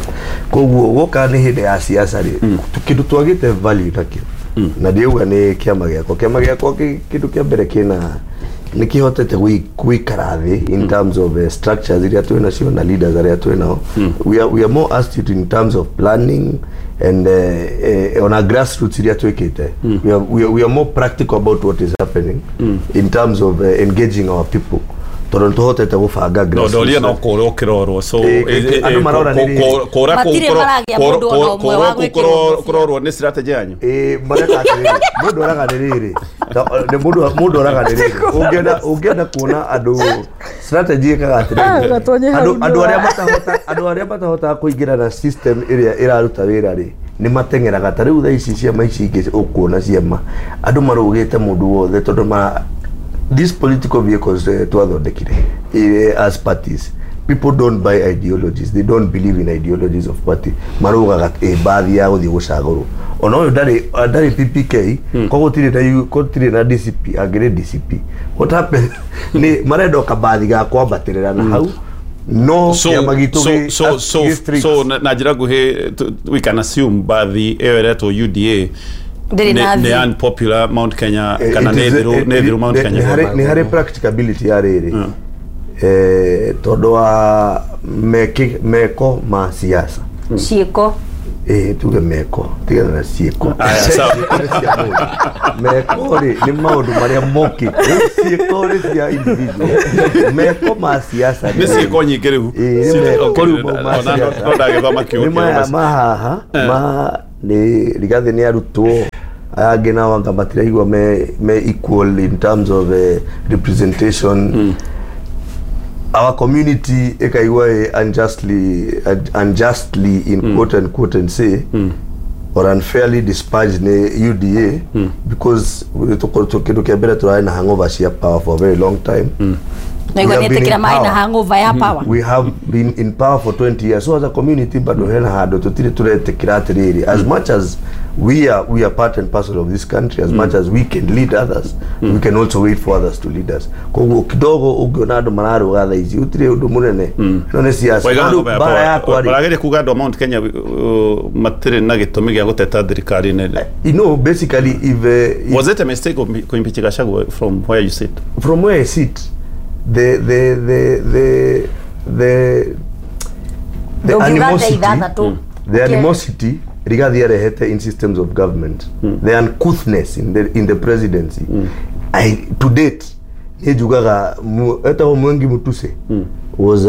Koguo guoka nĩ hĩndĩ ya siasa rĩ, kĩndũ twagĩte value nakĩo, na ndiauga nĩ kĩama gĩakwa. Kĩama gĩakwa kĩndũ kĩa mbere kĩna nĩ kĩhotete gũikara thĩ in terms of structures iria twĩ nacio na leaders arĩa twĩ nao. We are more astute in terms of planning and ona grassroots iria twĩkĩte. We are more practical about what is happening in terms of engaging our people tondũ nĩ tũhotete gũbanga No grassroots. ndoria no kũrwo kĩrorwo, so Andũ marora nĩ rĩrĩ. kũra Matirĩ maragĩa mũndũ ona ũmwe wa gwĩkĩrwo ngũbia. kũrorwo nĩ strategy yanyu. Ĩ, mareka atĩrĩrĩ, mũndũ oraga nĩ rĩrĩ. Nĩ mũndũ oraga nĩ rĩrĩ, ũngĩenda kuona andũ strategy ĩkaga atĩrĩrĩ, Gatonye hau andũ arĩa ndũra. matahota, andũ arĩa matahotaga kũingĩra na system ĩrĩa ĩraruta wĩra rĩ, nĩ mateng'eraga. Ta rĩu thaa ici ciama ici ingĩ ũkuona ciama andũ marũgĩte mũndũ wothe tondũ ma these political vehicles twathondekire as parties People don't buy ideologies, they don't believe in ideologies of party. Marugaga bathi ya guthii gucagurwo ona uyu ndari PPK koguo tiri na gutiri na DCP angiri DCP. What happened ni marenda kabathi ga kwambatirira na hau no kiama gitu so na njira nguhi we can assume bathi iyo iretwo UDA ni unpopular Mount Kenya kana ne thiru Mount Kenya ni hari practicability ya riri tondu wa meko ma siasa ciiko tuge meko tigana na ciiko meko ri ni maundu maria mokite ciiko ri cia individual meko ma siasa ni ciiko nyingi riu ni mahaha ma ni Rigathi ni arutwo aya angĩ nao anga matiraigua me equal in terms of representation. Our community ikaigua unjustly in quote and quote and say or unfairly dispatched ni UDA because kindu kia mbere turari na hangover cia power for a very long time. We have been in power for 20 years, so as a community bado hena handu tutire turetikira atiriri as much as we are part and parcel of this country, as much as we can lead others, we can also wait for others to lead us. Koguo kidogo ungiona andu mararuga thaa ici utire undu munene no ni siasa bara yakwa ri barageria kuga andu a Mount Kenya matire na gitumi gia guteta thirikari nene. You know, basically if was it a mistake of kuimpeach Gachagua from where you sit? From where I sit, the animosity, the animosity Rigathi arehete in systems of government, the uncouthness in the presidency. I to date nijugaga etaho Mwengi Mutuse was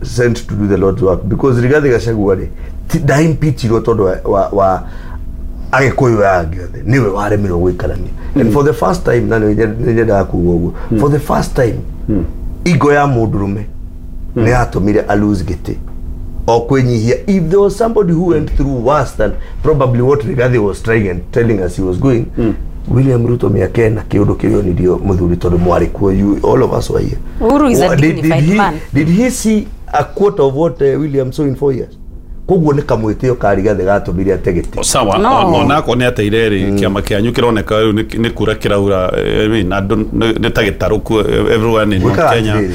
sent to do the Lord's work because Rigathi Gachagua ri ndaimpeachirwo tondu wa Agikuyu aya othe niwe waremirwo guikarania. And for the first time na nyendaga kuga uguo, for the first time igo ya mundurume ni yatumire a lose giti o kwinyihia. If there was somebody who went through worse than probably what Rigathi was trying and telling us he was going, William Ruto miaka ena kiundu kirionirio muthuri tondu mwari kuo, you all of us were here. Uhuru is a dignified man. Did he see a quarter of what William saw in 4 years? Koguo ni kamwitio ka Rigathi gatumire ategete sawa. Onako ni ateire ri kiama kianyu kironeka riu ni kura kiraura. I mean, ni ta gitaruku everyone in Mount Kenya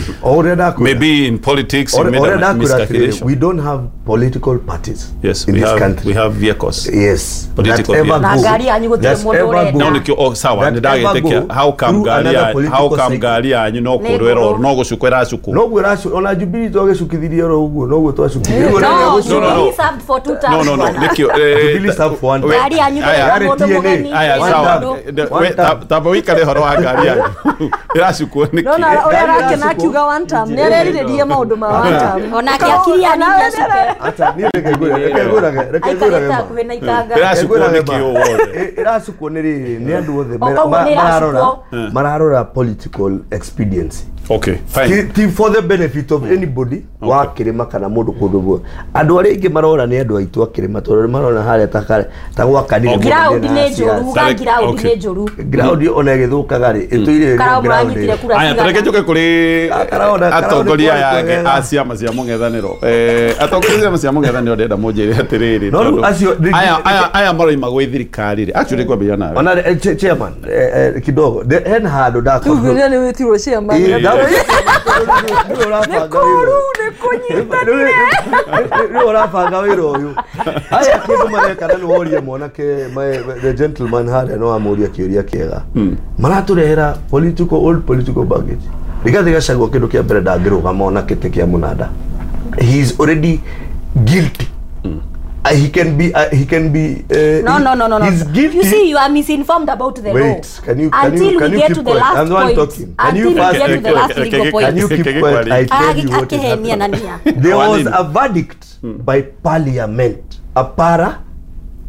maybe in politics you made a miscalculation. We don't have political parties. Yes, in this country we have vehicles. Yes, political vehicles. Na ngari yanyu gutire mundu urenda no nikio oh sawa ni ndagitekia how come ngari yanyu no kurwero no gucukwo iracuku no gwiracu ona Jubilee twagicukithirie ro uguo no guo twacukithirie. No, he served for 2 terms. No. Nikio Jubilee served for 1 term. Ngari yanyu mundu mugeni. Aya sawa. Tamba wikare horo wa ngari yanyu iracukwo niki no na uria arakena akiuga 1 term ni areriririe maundu ma 1 term ona akiakiri yani acuke ata ni reke ngure iracukwo niki wothe iracukwo ni riri ni andu othe mararora political expediency. Okay, fine. Ti for the benefit of anybody wa kirima kana mundu kundu guo andu aria ingi marora ni andu aitu akirima tondu marona haria ta gwakanire ground ni njuru uga ground ni njuru ground ona igithukaga ri ituire ground. Aya tareke njuke kuri atongoria aya a ciama cia mung'ethaniro atongoria ciama cia mung'ethaniro ndenda munjire atiriri tondu aya maroima gwi thirikari ri actually kwambia nawe ona chairman kidogo hen handu ndakorwo ni witirwo chairman nä ũrabanga wĩra ũyũ aya kĩndũ mareka na nĩ woria mwanake the gentleman harĩa no amũria kĩũria kĩega maratũrehera political old political baggage. Rigathi Gachagua kĩndũ kĩa mbere ndangĩrũgama ona kĩtĩ kĩa mũnanda. He is already guilty. He can be no. He's guilty. You see, you are misinformed about the Wait, law. Can we you get keep to the last I'm the one point. talking. Until we get to the last legal point. Can you keep quiet? I tell you what is happening. There was a verdict by parliament, a para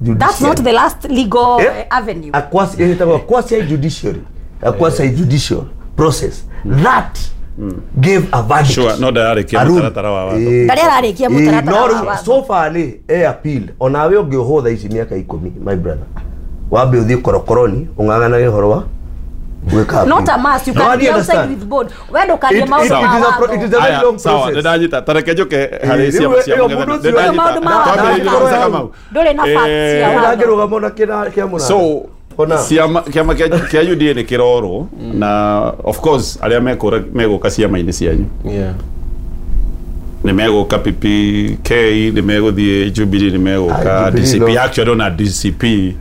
judiciary. That's not the last legal avenue. A quasi judiciary, a quasi judicial process that gave a verdict. Sure, no ndararekia mutaratara wa watho. Ndararekia mutaratara wa watho. So far ni appeal onawe ũngĩohwo thaa ici mĩaka 10 my brother wambe ũthiĩ korokoroni ũng'ang'anage ũhoro wa Wake up. Not a must. You No, can I be outside understand. with board. We ndukarie It- maundu it ma is a watho. it is a very Aya, long sawa process. ndanyita tareke njuke harĩ Rĩu ciama cia ĩyo mũng'ethanĩro. mũndũ ũcio- Ndanyita. Maũndũ ma watho. Twambĩrĩrie na Kamau. Ndũrĩ na facts cia watho. Ndangĩrũgama ona kĩa mũnanda. So Ona. ciama kĩama kĩa UDA nĩ kĩrorwo na of course arĩa megũka ciama-inĩ cianyu Yeah. nĩ megũka PPK nĩ megũthiĩ Jubilee nĩ megũka Ah, Jubilee DCP no. actually ona DCP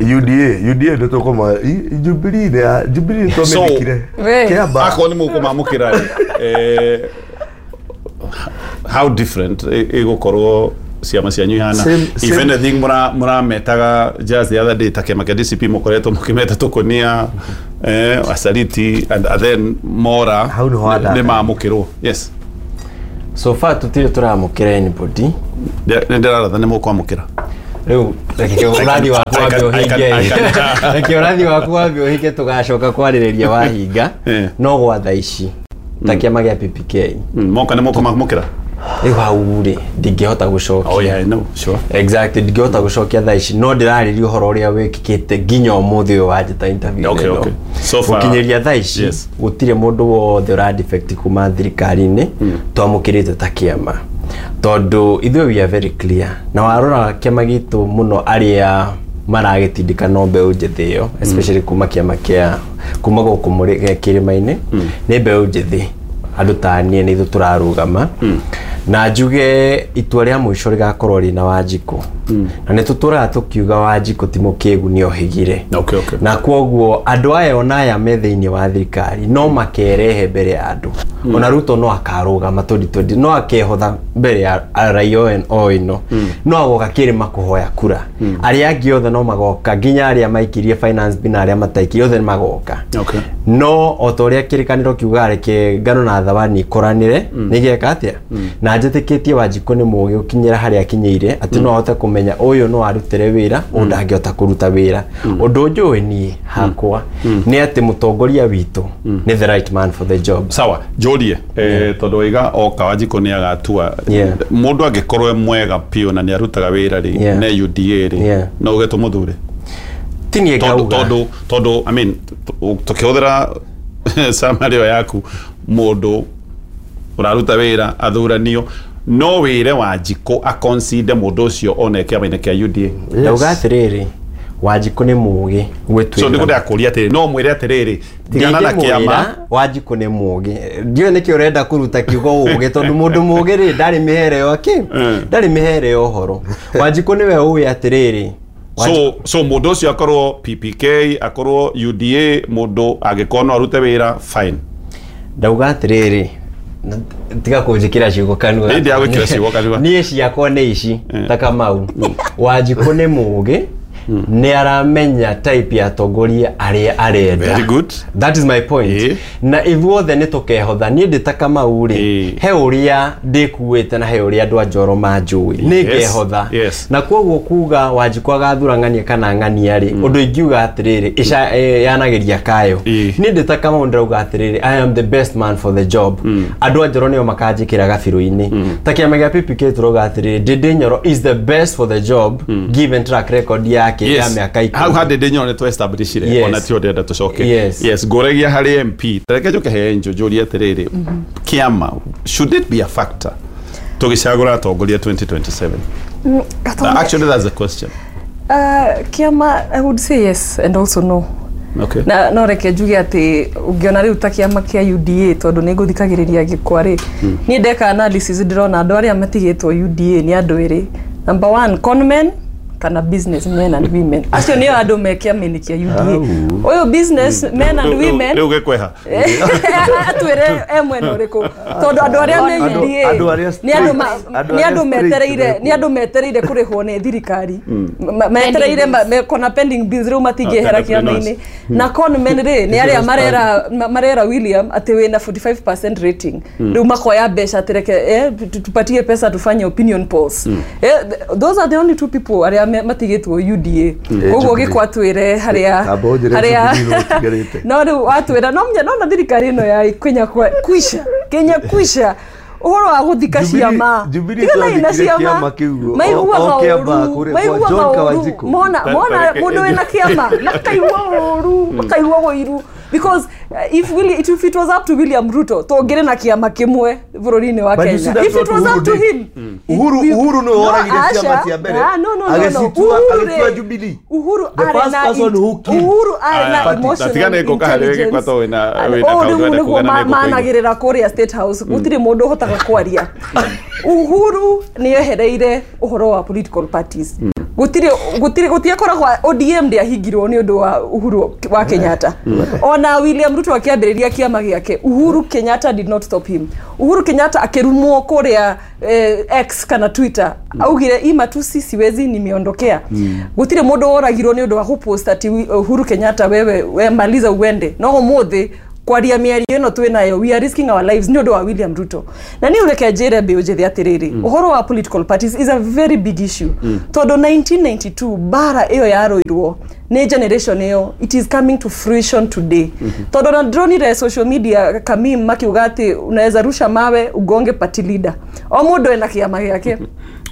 UDA nĩ tũkũma Jubilee nĩ ya Jubilee nĩ twamĩthikire. We. Kĩamba. akorwo nĩ mũkũmamũkĩra rĩ how different ĩgũkorwo ciama cianyu ihana Same- if same. anything mũrametaga just the other day ta kĩama kĩa DCP mũkoretwo mũkĩmeta tũkũnia asaliti and then mora Hau nĩho wandaka. nĩ mamũkĩrwo yes. So far tutire tũramũkĩra anybody. Nĩ ndĩraratha nĩ mũkwamũkĩra. Rĩu reke ũrathi waku I wambe can- I ũhinge. can- Reke ũrathi waku wambe ũhinge tũgacoka kwarĩrĩria wahinga. Eh. No gwa thaa ici ta kĩama gĩa PPK Moka nĩ mũkũmamũkĩra. Rĩu hau rĩ ndingĩhota gũcokia. Oh yeah, I know, sure. Exactly, ndingĩhota gũcokia thaa ici no ndĩrarĩria ũhoro ũrĩa wĩkĩkĩte nginya ũmũthĩ ũyũ wanjĩta interview Okay, ĩno. okay. So far- gũkinyĩria thaa ici Yes. gũtirĩ mũndũ wothe ũradefect kuma thirikari-inĩ twamũkĩrĩte ta kĩama tondũ ithuĩ we are very clear na warora kĩama gitũ mũno arĩa maragĩtindĩka no mbeũ njĩthĩ ĩyo especially kuma kĩama kĩa kuma gũkũ kĩrĩma-inĩ nĩ mbeũ njĩthĩ andũ ta niĩ nĩ ithuĩ tũrarũgama na njuge itua rĩa mũico rĩgakorwo rĩna Wanjikũ na nĩ tũtũraga tũkiuga Wanjikũ ti mũkĩgu nĩ ohĩgire. Okay, okay. Na kwoguo andũ aya ona aya me thĩinĩ wa thirikari no makerehe mbere ya andũ ona Ruto no akarũgama 2020 no akehotha mbere ya raia o ĩno no agoka kĩrĩma kũhoya kura arĩa angĩ othe no magoka nginya arĩa maikirie finance bill na arĩa mataikirie othe nĩ magoka. Okay. No o ta ũrĩa kĩrĩkanĩro kiugaga reke ngano na thabani ikũranĩre nĩgeka atĩa na njĩtĩkĩtie Wanjikũ nĩ mũũgĩ gũkinyĩra harĩa akinyĩire atĩ no ahote kũmenya ũyũ no arutĩre wĩra ũyũ ndangĩhota kũruta wĩra ũndũ njũĩ niĩ hakwa nĩ atĩ mũtongoria witũ nĩ the right man for the job. Sawa njũrie tondũ waiga oka Wanjikũ nĩ agatua Yeah. mũndũ angĩkorwo e mwega piũ na nĩ arutaga wĩra rĩ Yeah. ne UDA rĩ Yeah. no uge tũmũthure Ti niĩ tondũ ngauga. tondũ I mean tũkĩhũthĩra summary ĩyo yaku mũndũ ũraruta wĩra athuranio no wĩre Wanjikũ akonside mũndũ ũcio one kĩama-inĩ kĩa UDA. Ndauga atĩrĩrĩ Wanjikũ nĩ mũũgĩ So gwĩtuĩra. nĩguo ndakũria atĩrĩrĩ no mwĩre atĩrĩrĩ tigana na kĩama Wanjikũ nĩ mũũgĩ ndiũĩ nĩkĩ ũrenda kũruta kiugo ũũgĩ tondũ mũndũ mũũgĩ rĩ ndarĩ mĩhere ya kĩ ndarĩ mĩhere ya ũhoro Wanjikũ nĩwe ũĩ atĩrĩrĩ so mũndũ ũcio akorwo PPK akorwo UDA mũndũ angĩkorwo no arute wĩra fine. Ndauga atĩrĩrĩ tiga kũnjĩkĩra ciugo kanua. Niĩ ndiragwĩkĩra ciugo kanua. Niĩ ciakwa nĩ ici ta Kamau Wanjikũ nĩ mũũgĩ nĩ aramenya type ya atongoria arĩa arenda. Very good. That is my point. Na ithuothe nĩ tũkehotha niĩ ndĩ ta Kamau rĩ he ũrĩa ndĩkuĩte na he ũrĩa andũ a Njoro manjũĩ nĩ ngehotha. Yes. Na koguo kuga Wanjikũ agathura ng'ania kana ng'ania rĩ ũndũ ingiuga atĩrĩrĩ yanagĩria kayo niĩ ndĩ ta Kamau ndĩrauga atĩrĩrĩ I am the best man for the job. Andũ a Njoro nĩo makanjĩkĩra gabirũ-inĩ ta kĩama gĩa PPK tũrauga atĩrĩrĩ Ndindi Nyoro is the best for the job given track record yake ya Yes. mĩaka Hau 10. ha Ndindi Nyoro nĩ tũ-establishire Yes. ona ti ũndĩrenda tũcoke. Yes. Yes, ngũragia harĩ MP tareke njoke he Angel njũrie atĩrĩrĩ kĩama should it be a factor tũgĩcagũra atongoria 2027? Actually that's the question. Kĩama I would say yes and also no. Okay. Na no reke njuge atĩ ũngĩona rĩu ta kĩama kĩa UDA tondũ nĩ ngũthikagĩrĩria gĩkwa rĩ niĩ ndeka analysis ndĩrona andũ arĩa matigĩtwo UDA nĩ andũ erĩ number one conmen kana business men and women acio nĩo andũ me kĩama-inĩ kĩa UDA ũyũ business men and women Rĩu gĩkweha atwĩre e mwena ũrĩkũ tondũ andũ arĩa me UDA nĩ andũ metereire nĩ andũ metereire kũrĩhwo nĩ thirikari metereire kona pending bills rĩu matingĩehera kĩama-inĩ na conmen rĩ nĩ arĩa marera William atĩ wĩna 45% rating rĩu makoya mbeca atĩ reke tupatie pesa tufanye opinion polls. Those are the only two people arĩa matigĩtwo UDA koguo gĩkwa twĩre harĩa harĩa no rĩu watwĩra no menya no na thirikari ĩno ya Kenya kwisha Kenya kwisha Uhoro wa guthika ciama. Jubilee Tiganai na twathikire ciama. kĩama kĩu, Maiguaga o kĩama ũru, kũrĩa kwa maiguaga John ũru. Kawanjikũ. Mona mona mundu wina kiama makaigua ũru, makaigua ũiru because if it was up to William Ruto tũngĩrĩ na kĩama kĩmwe bũrũri-inĩ wa But you see Kenya. that's If it what was Uhuru up to did. him, Uhuru nĩwe No, woragire ciama Asha. cia mbere. Ah, no. Agĩcitua Uhuru agĩtua rĩ, Jubilee. Uhuru The arĩ first na person who killed. Uhuru arĩ na Party. emotional Tatigane ngũka harĩ intelligence. gĩkwa tondũ wĩna Ũũ kaũndũ rĩu wenda nĩguo kuga na nĩngũkũigua. managĩrĩra kũrĩa State House gũtirĩ mũndũ ũhotaga kwaria. Uhuru nĩ ehereire ũhoro wa political parties. Gũtirĩ gũtirĩ gũtiakoragwo ODM ndĩahingirwo nĩ ũndũ wa Uhuru wa Kenyatta. Ona William Ruto akĩambĩrĩria kĩama gĩake, Uhuru Kenyatta did not stop him. Uhuru Kenyatta akĩrumwo kũrĩa X kana Twitter, augire hii matusi siwezi, nimeondokea. Gũtirĩ mũndũ woragirwo nĩ ũndũ wa gũpost ati Uhuru Kenyatta wewe we maliza uende. No ũmũthĩ kwaria mĩario ĩno twĩ nayo, we are risking our lives nĩ ũndũ wa William Ruto. Na niĩ reke njĩre mbeũ njĩthĩ atĩrĩrĩ, ũhoro wa political parties is a very big issue, tondũ 1992 bara ĩyo yarũirwo nĩ generation ĩyo, it is coming to fruition today, tondũ na ndĩronire social media kamim makiuga atĩ unaweza rusha mawe ugonge party leader. O mũndũ ena kĩama gĩake.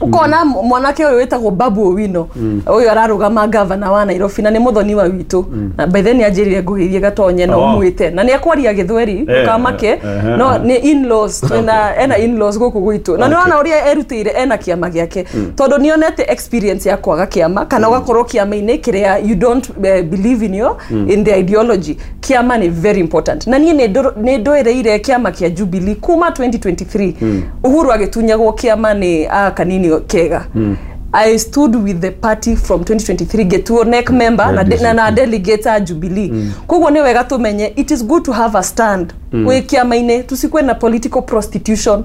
Ukona mwanake ũyũ wĩtagwo Babu Owino, ũyũ ararũgama gavana wa Nairobi na nĩ mũthoni wa witũ, na by then nĩ anjĩrire ngũgeithie gatonye na Oh. ũmwĩte na nĩ akwaria gĩthweri, ndũkamake, no nĩ in-laws twĩna, ena in-laws gũkũ gwitũ, na nĩ wona ũrĩa erutĩire ena kĩama gĩake, tondũ nĩ onete experience ya kwaga kĩama kana ũgakorwo kĩama-inĩ kĩrĩa you don't believe in your in the ideology. Kĩama nĩ very important, na niĩ nĩ ndwereire kĩama kĩa Jubilee kuma 2023 Uhuru agĩtunyagwo kĩama nĩ a kanini kega. I stood with the party from 2023, gĩtuo NEC member na delegate a Jubilee. Koguo nĩ wega tũmenye it is good to have a stand wĩ kĩama-inĩ, tusikwe na political prostitution.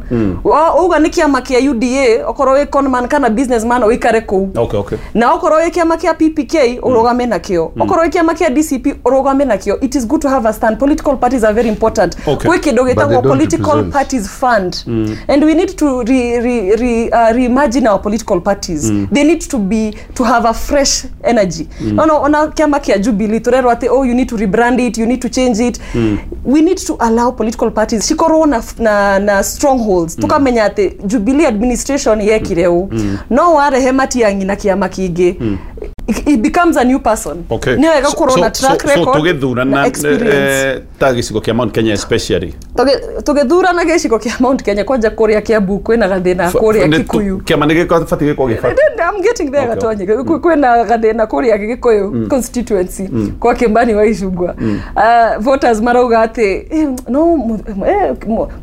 Uga nĩ kĩama kĩa UDA, okorwo wĩ conman kana businessman ũikare kũu, na okorwo wĩ kĩama kĩa PPK ũrũgame nakĩo, okorwo wĩ kĩama kĩa DCP ũrũgame nakĩo. It is good to have a stand. Political parties are very important. Gwĩ kĩndũ But they gĩtagwo don't political represent. parties fund, and we need to reimagine our political parties. They need to be to have a fresh energy. Ona kĩama kĩa Jubilee tũrerwo atĩ, oh, you need to rebrand it, you need to change it. We need to allow political parties cikorwo na strongholds, tukamenya atĩ Jubilee administration yekire ũũ. No warehe Matiang'i na kĩama kĩngĩ, it becomes a new person. Nĩ wega gũkorwo na track so record na tũgĩthurana experience. Ta gĩcigo kĩa Mount Kenya especially. Tũgĩthurana gĩcigo kĩa Mount Kenya, kwanja kũrĩa Kiambu kwĩna gathĩna kũrĩa Kikuyu. Kĩama nĩ gĩbatiĩ gĩkorwo gĩbatiĩ I'm getting there. Okay. Gatonye, kwĩna gathĩna kũrĩa Gĩkũyũ constituency kwa Kĩmbani wa Icungwa. Voters marauga atĩ no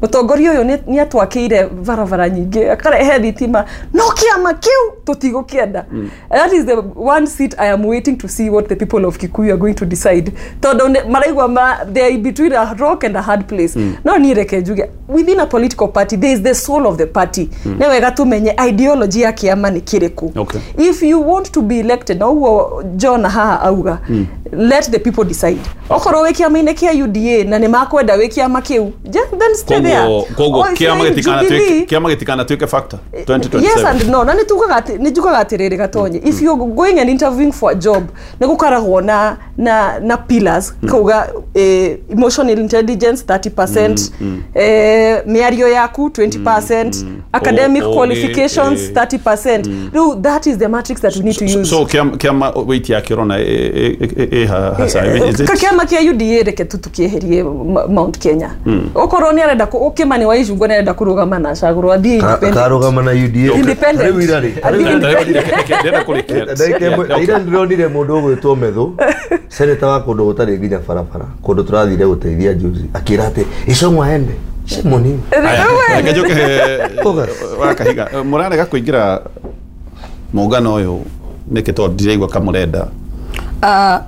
mũtongoria ũyũ nĩ atwakĩire barabara nyingĩ, akarehe thitima, no kĩama kĩu tũtigũkĩenda. That is the one seat I am waiting to see what the people of Kikuyu are going to decide, tondũ maraigua they are between a rock and a hard place. No niĩ reke njuge, within a political party there is the soul of the party. Nĩ wega tũmenye ideology ya kĩama nĩ kĩrĩkũ. If you want to be elected, na ũguo John haha auga, let the people decide. Okorwo wĩ kĩama-inĩ kĩa UDA na nĩ makwenda wĩ kĩama kĩu, then stay there. Koguo Or if kĩama you're in gĩtikanatuĩke Jubilee, kĩama gĩtikanatuĩke factor 2027. Yes and no. Na nĩ tugaga atĩ, nĩ njugaga atĩrĩrĩ gatonye, if you're going and interviewing for a job, nĩ gũkoragwo na pillars, kauga emotional intelligence 30%, mĩario yaku 20%, academic qualifications 30%. Rĩu that is the matrix that we need to use. So kĩama weight yake ũrona ĩ hasa is it? Kĩama kĩa UDA reke tu tukĩeherie Mount Kenya. Okorwo nĩ arenda Kĩmani wa Icungwa nĩ arenda kũrũgama na acagũrwo, athiĩ independent. Karũgama na UDA. Independent. Rĩu ira rĩ, Athiĩ Ndĩrenda kũrĩkia. Ndagĩka ĩmwe, ira ndĩronire mũndũ ũgwĩtwo Methu, seneta wa kũndũ gũtarĩ nginya barabara, kũndũ tũrathire gũteithia juzi, akĩra atĩ Icũng'wa ende. Shame on him. Reke njoke wa kahiga, mũrarega kũingĩra mũngano ũyũ nĩkĩ? Tondũ ndiraigua kamũrenda.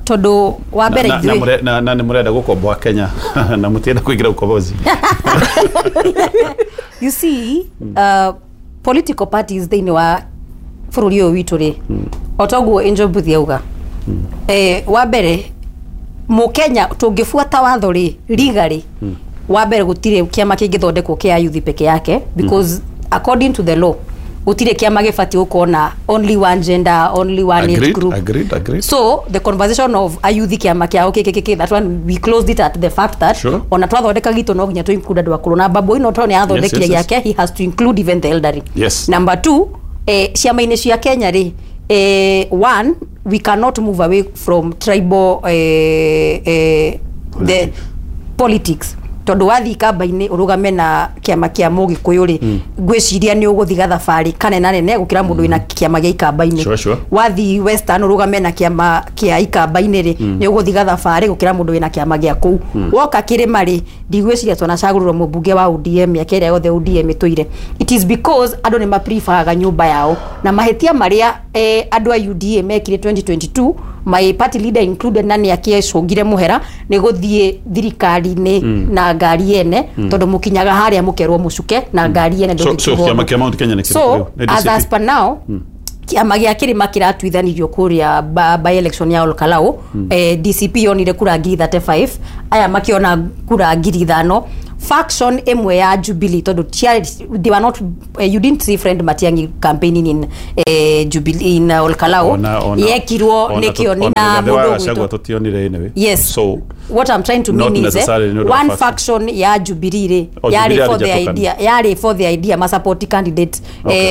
Tondũ wa mbere Na- na ithuĩ na nĩ mũrenda gũkomboa Kenya na mũtienda kũingĩra ukombozi. You see, political parties thĩinĩ wa bũrũri ũyũ witũ rĩ, o toguo Angel Mbuthi auga, wa mbere mũkenya tũngĩbuata watho rĩ, legally, wa mbere gũtirĩ kĩama kĩngĩthondekwo kĩa youth peke yake, because according to the law Gũtirĩ kĩama gĩbatiĩ gũkorwo na only one gender, only one age group. Agreed. So the conversation of ayuthi kĩama kĩao kĩkĩkĩ, that one we closed it at the fact that ona twathondeka gitũ no nginya tũ include andũ akũrũ, na Babu Owino tondũ nĩ athondekire gĩake, he has to include even the elderly. Number two, ciama-inĩ cia Kenya rĩ, one, we cannot move away from tribal the politics, tondu wathi kamba-inĩ ũrũgame na kĩama kĩa mũgĩkũyũ rĩ, ngwĩciria nĩ ũgũthiĩ gathabarĩ kanene nene gũkĩra mũndũ wĩna kĩama gĩa ikamba-inĩ. Wathi Western ũrũgame na kĩama kĩa ikamba-inĩ rĩ, nĩ ũgũthiĩ gathabarĩ gũkĩra mũndũ wĩna kĩama gĩa kũu. Woka kĩrĩma rĩ, ndigwĩciria twanacagũrĩrwo mũmbunge wa ODM mĩaka ĩrĩa yothe ODM ĩtũire. It is because andũ nĩ mapreferaga nyũmba yao, na mahĩtia marĩa andũ a UDA mekire 2022, my party leader included, na nĩ akĩcũngire mũhera nĩ gũthiĩ thirikari-inĩ na ngari ene, tondũ mũkinyaga harĩa mũkerwo mũcuke na ngari ene. So kĩama kĩa Mount Kenya nĩ kĩrĩkũ? So as per now, kĩama gĩa kĩrĩma kĩratuithanirio kũrĩa by election ya Olkalau. DCP yonire kura 35,000, aya makĩona kura 5,000. Faction ĩmwe ya Jubilee, tondũ they were not, you didn't see Friend Matiang'i campaigning in Jubilee in Olkalau, yekirwo nĩ Kĩoni na mũndũ ũgwĩtwo tũtionire anyway. Yes. So what I'm trying to mean is one faction ya Jubilee rĩ, yarĩ for the idea, yarĩ for the idea ma support candidate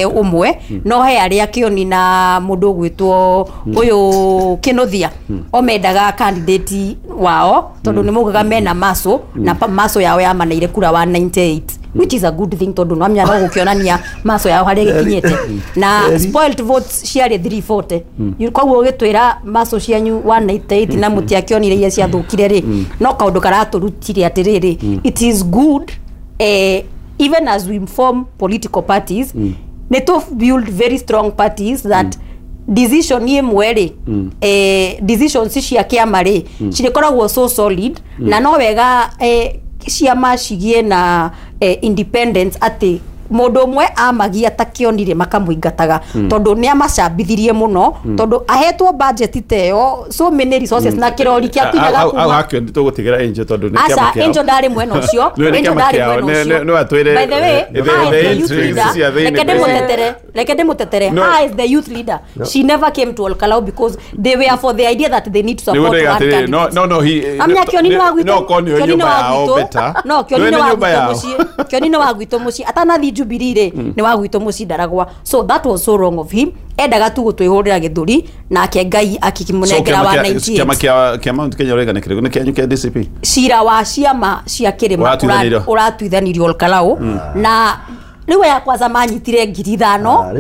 ũmwe, no he arĩa Kĩoni na mũndũ ũgwĩtwo ũyũ Kĩnuthia o mendaga candidate wao, tondũ nĩ maugaga mena maso, na maso yao yamaneire kura 198, which is a good thing, tondu no amenya no gukionania maso yao haria gikinyite, na spoiled votes ciarĩ 340. Koguo gitwira maso cianyu 198 na mutiakionire iria ciathukire ri, no kaundu karaturutire atiriri, it is good even as we form political parties, ni to build very strong parties that decision imwe ri, decisions cia kiama ri cirikoragwo so solid, na no wega ciama cigie na independence, ati mundu umwe amagia ta Kĩonire makamũingataga, tondu ni amacambithirie muno, tondu ahetwo budget teyo so many resources na kirori kia kinyaga kuma au hakio tũgũtigĩra Angel, tondu nĩ kĩama kĩao. Angel ndari mwena ũcio, Angel ndari mwena ũcio. No atwĩre, by the way, the youth leader, reke ndĩmũtetere, how is the youth leader? She never came to Olkalau because they were for the idea that they need to support one candidate. No he amnya Kĩoni nĩ wa gwitũ, no konio nyũmba yao better. No Kĩoni nĩ wa gwitũ mũciĩ, Kĩoni nĩ wa gwitũ mũciĩ, atanathi Jubilee rĩ, nĩ wa gwitũ mũciĩ ndaragwa. So that was so wrong of him. Endaga tu gũtwĩhũrĩra gĩthũri, nake Ngai akĩmũnengera wa 98. Kĩama kĩa Mount Kenya ũraiga nĩ kĩrĩkũ? Nĩ kĩanyu kĩa DCP? Cira wa ciama cia kĩrĩma ũratuithanirio Olkalau, na rĩu aya kwanza manyitire 5,000.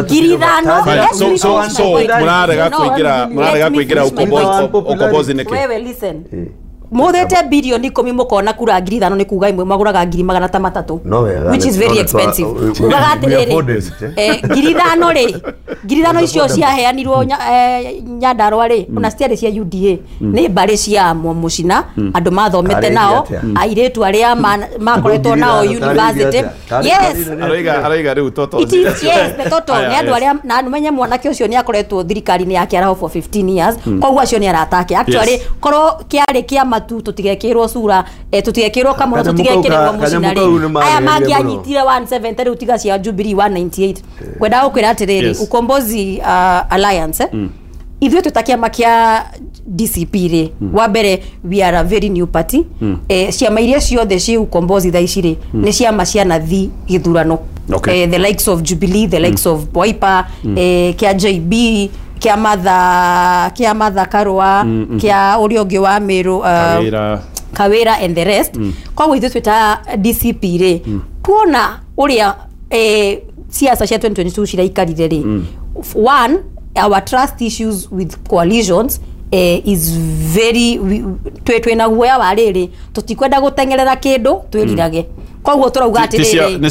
5,000. So mũrarega kũingĩra ukombozi nĩkĩ? Wewe listen, muthete bilioni 10 mukona kura 5,000 ni kuga imwe maguraga 300,000, which is very expensive. Ugaga atiriri, 5,000 ri, 5,000 icio ciaheanirwo Nyandarua ri, ona citiarĩ cia UDA, ni mbari cia Mũcina, andu mathomete nao, airĩtu arĩa makoretwo nao university. Yes, araiga rĩu toto. It is, yes, the toto ni andu arĩa, na numenye mwanake ũcio ni akoretwo thirikari-inĩ ya Kĩaraho for 15 years, koguo acio ni aratake. Actually korwo kĩarĩ kĩama tu tutigekirwo sura, tutigekirwo kamuro, tutigekirwo Mũcina ri, aya mangĩanyitire 170 riu tiga cia Jubilee 198. Ngwenda gũkwĩra atĩrĩrĩ, Ukombozi Alliance, ithuĩ twĩ ta kĩama kĩa DCP rĩ, wa mbere we are a very new party. Ciama iria ciothe ciĩ Ukombozi thaa ici rĩ, nĩ ciama cianathi gĩthurano. The likes of Jubilee, the likes of Wiper, kĩa JB, kĩa Martha Karua, kĩa ũrĩa ũngĩ wa Meru, Kawira and the rest. Koguo ithuĩ twĩ ta DCP rĩ, tuona ũrĩa siasa cia 2022 ciraikarire rĩ, one, our trust issues with coalitions is very, twĩna guoya wa rĩrĩ, tũtikwenda gũteng'erera kĩndũ twĩrirage. Koguo tũrauga atĩrĩrĩ, nĩ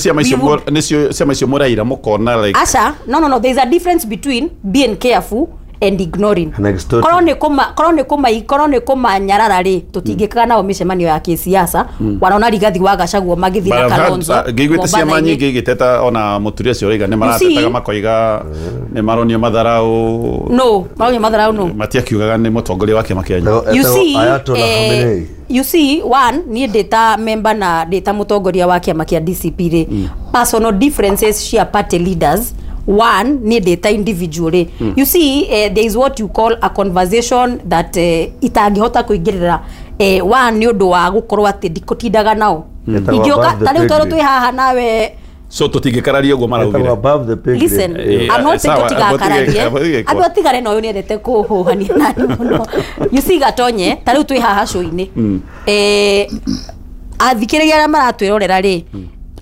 ciama icio mũraira mũkona like aca, no, there is a difference between being careful and ignoring. And extorting. Korwo nĩ kũmanyarara rĩ, tũtingĩkaga nao mĩcemanio ya kĩsiasa. Wanaona Rigathi wa Gachagua magĩthiĩ na Kalonzo ngĩiguĩte ciama Mombatha-inĩ. nyingĩ igĩteta ona mũturia ũcio ũraiga nĩ maratetaga makoiga nĩ maronio matharau. No maronio matharau no. Matiakiugaga nĩ mũtongoria wa kĩama kĩanyu. You see, Ayatollah Khamenei. you see, one, niĩ ndĩ ta member na ndĩ ta mũtongoria wa kĩama kĩa DCP rĩ, personal differences cia party leaders, one, niĩ ndĩ ta individual rĩ, you see, there is what you call a conversation that itangĩhota kũingĩrĩra, one, nĩ ũndũ wa gũkorwo atĩ ndikũtindaga nao. Ĩtagwo Ingĩũka above the ta rĩu pay tondũ grade. twĩ haha nawe. So tũtingĩkararia ũguo maraugire. Ĩtagwo above the pay grade. Listen, I'm not saying sawa, tũtigakararie. abu- Andũ atigare na ũyũ nĩendete kũhũhania nani mũno. You see, Gatonye, ta rĩu twĩ haha show-inĩ, athikĩrĩria arĩa maratwĩrorera rĩ,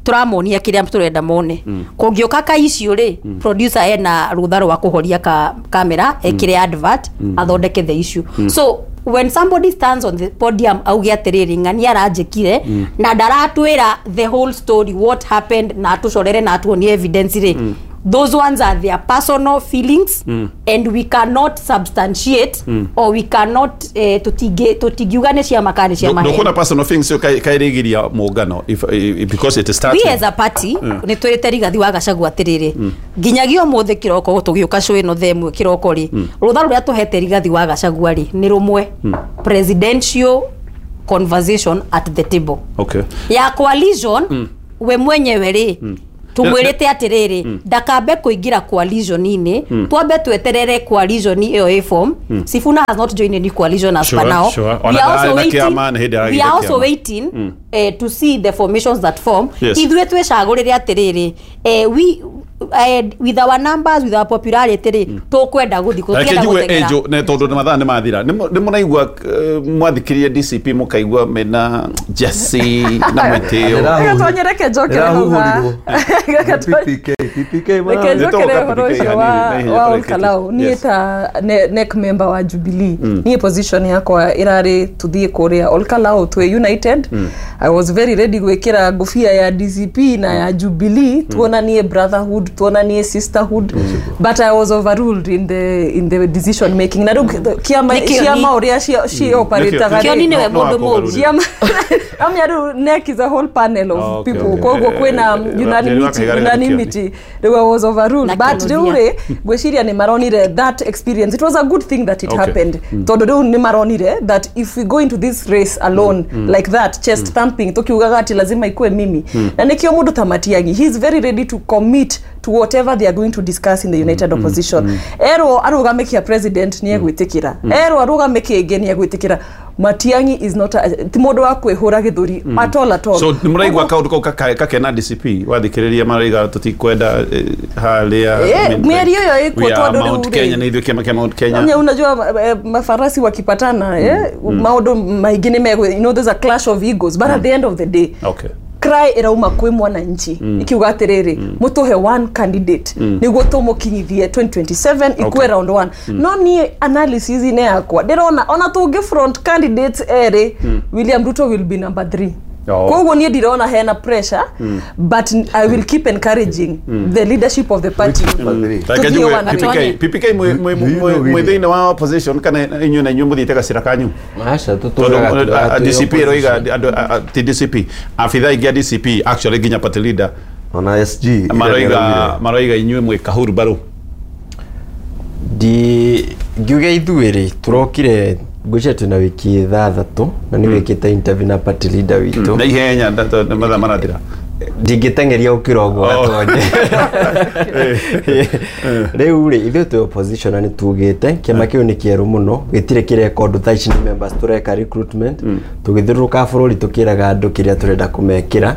tũramonia kĩrĩa tũrenda mone. Kũngĩũka ka issue rĩ, producer ena rũtha rwa kũhoria ka kamera, ekĩre advert, athondeke the issue. So when somebody stands on the podium auge atĩrĩrĩ, ng'ania aranjĩkire, na ndaratwĩra the whole story, what happened, na atũcorere na atuonie evidence rĩ, those ones are their personal feelings, and we cannot substantiate or we cannot, tũtingiuga nĩ ciama kana nĩ cia maheni. Ndũkuona personal things ĩyo kaĩrĩgiria mũngano because it started. We as a party nĩ twĩrĩte Rigathi wa Gachagua atĩrĩrĩ, nginyagia ũmũthĩ kĩroko tũgĩũka show ĩno thaa ĩmwe kĩroko rĩ, rũtha rũrĩa tũhete Rigathi wa Gachagua rĩ nĩ rũmwe, presidential conversation at the table. Ya coalition, we mwenyewe rĩ, tumwĩrĩte atĩrĩrĩ, ndakambe kũingĩra coalition-inĩ, twambe tweterere coalition ĩyo ĩ form. Sifuna has not joined any coalition as per now. Ona We are ndararĩ also na waiting, kĩama, nĩ hĩndĩ we aragĩire are also kĩama. waiting to see the formations that form. Ithuĩ twĩcagũrĩre atĩrĩrĩ, we, with our numbers, with our popularity rĩ, tũkwenda gũthiĩ kũ, Reke tũtienda njigue gũteng'era. Angel, nĩ tondũ mathaa nĩ mathira. Nĩ mũraigua, mwathikĩrĩria DCP mũkaigua mena Jesse na mwĩtĩo. Gatonye, reke njokere hau Ĩrahuhũrirwo. PPK, PPK reke mara- njokere Nĩtũgũka ũhoro PPK ũcio hanini, na ihenya wa tũrĩkĩtie. Olkalau. Niĩ ta NEC member wa Jubilee, niĩ position yakwa ĩrarĩ tuthiĩ kũrĩa Olkalau twĩ united. I was very ready gwĩkĩra ngũbia ya DCP na ya Jubilee, tuonanie brotherhood, tuonanie sisterhood, but I was overruled in the decision making. Na rĩu kĩama Nĩ kĩoni. ciama ũrĩa cioperataga Kĩoni nĩwe No, mũndũ no, mũũru. ciama amya rĩu NEC is a whole panel of people. Koguo kwĩna unanimity, unanimity. Rĩu I was overruled. Na But rĩu kĩũria. rĩ, ngwĩciria nĩ maronire that experience, it was a good thing that it happened, tondũ rĩu nĩ maronire that if we go into this race alone like that, chest thumping, tukiugaga ati lazima ikue mimi, na nĩkĩo mũndũ ta Matiang'i, he is very ready to commit to whatever they are going to discuss in the united opposition. Erwo arũgame kĩa president, nĩ egwĩtĩkĩra. Erwo arũgame kĩngĩ, nĩ egwĩtĩkĩra. Matiang'i is not a, ti mũndũ wa kwĩhũra gĩthũri at all, at all. So nĩ mũraigua kaũndũ kau kakena DCP wathikĩrĩria maraiga tũtikwenda harĩa, I mean, mĩario ĩyo ĩkuo we are tondũ Mount rĩu rĩ- Kenya, nĩ ithuĩ kĩama kĩa Mount Kenya. Nya, unajua mafarasi wakipatana, maũndũ maingĩ nĩ megũ, there's a clash of egos, but at the end of the day cry ĩrauma kwĩ mwananchi ikiuga atĩrĩrĩ, mũtũhe one candidate nĩguo tũmũkinyithie 2027 ikue round one. No niĩ analysis inĩ yakwa ndĩrona ona tũngĩ front candidates erĩ, William Ruto will be number 3. Koguo niĩ ndirona hena pressure, but I will keep encouraging the leadership of the party. Reke Tũthiĩ njigue one PPK. Gatonye. PPK mwĩ thĩinĩ wa opposition kana inyuĩ na inyuĩ mũthiĩte gacĩra kanyu? Aca, tondũ tũtũraga DCP ĩroiga andũ ti DCP, abithaa aingĩ a DCP, actually nginya party leader ona SG maroiga inyuĩ mwĩ kahuru mbaru. Ndi ngiuge ithuĩ rĩ, tũrokire ngwĩciria twĩna wiki 6 na nĩ wĩkĩte interview na party leader witũ. Na ihenya mathaa marathira. Ndingĩteng'eria gũkĩra ũguo. Gatonye, rĩu rĩ, ithuĩ twĩ opposition na nĩ tugĩte kĩama kĩu nĩ kĩerũ mũno, gĩtirĩ kĩreka ũndũ. Thaa ici nĩ members tũreka recruitment, tũgĩthiũrũrũka bũrũri tũkĩraga andũ kĩrĩa tũrenda kũmekĩra,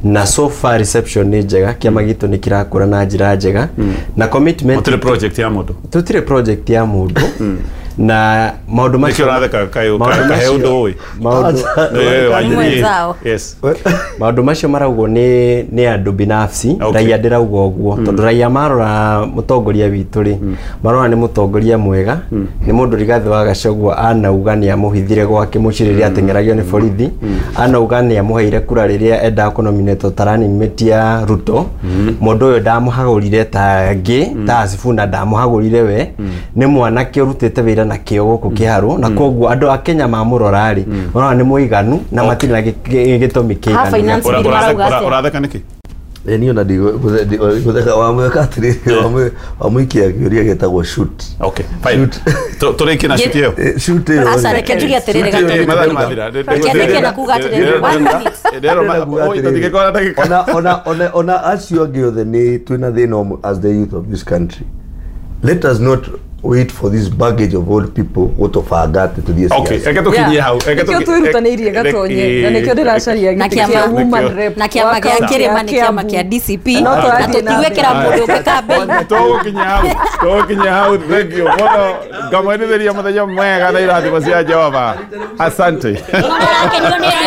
na so far reception nĩ njega. Kĩama gitũ nĩ kĩrakũra na njĩra njega na commitment. Mũtirĩ project ya mũndũ. Tutire project ya mũndũ. Na maũndũ Nĩkĩo macio ũratheka kaĩ maũndũ kahe macio- ũndũ ũĩ. maũndũ Mwenzao. Yes. Maũndũ macio maraugwo nĩ andũ binafsi. Okay. Raia ndĩrauga ũguo tondũ raia marora mũtongoria witũ rĩ, marora nĩ mũtongoria mwega, nĩ mũndũ Rigathĩ wa Gachagua anauga nĩ amũhithire gwake mũciĩ rĩrĩa ateng'eragio nĩ borithi, anauga nĩ amũheire kura rĩrĩa endaga kũnominatwo ta running mate ya Ruto. Mũndũ ũyũ ndamũhagũrire ta ngĩ ta Sifuna, ndamũhagũrire we nĩ mwanake ũrutĩte wĩra na kĩo gũkũ Kĩharũ, na koguo andũ a Kenya mamũrora rĩ, marona nĩ mũiganu na matirĩ na gĩtũmi Ha, kĩiganu. finance bill marauga atĩa? Ũratheka nĩkĩ? Niĩ ona ndigũtheka wamwĩka atĩrĩrĩ, wamũikia kĩũria gĩtagwo shoot. Okay, fine. Tũrĩkie na shoot ĩyo. Shoot ĩyo Aca, reke njuge atĩrĩrĩ Shoot ĩyo Gatonyo. Mathaa nĩ mathira. Reke ndĩke na kuga atĩrĩrĩ, one minute. Tũtingĩkora ndagĩka. Ona acio angĩ othe nĩ twĩna thĩna ũmwe as the youth of this country. Let us not wait for this baggage of old people gũtũbanga atĩ tũthiĩ Okay, siasa. reke tũkinyie hau. Reke Nĩkĩo twĩrutanĩirie Gatonye, na nĩkĩo ndĩracaria Na gĩtĩ kĩa kĩama- woman rep na kĩama wa gĩa kaunti ya kĩrĩma nĩ kĩama Kiambu. kĩa DCP No na tũrathiĩ na tũtigwĩkĩra mbere. mũndũ ũngĩ kambĩini. Tũgũkinya hau, tũgũkinya hau. Thank you mũno, ngamwendithĩria mũthenya mwega na irathimo cia Jehova. Asante. Nĩmarakenio nĩ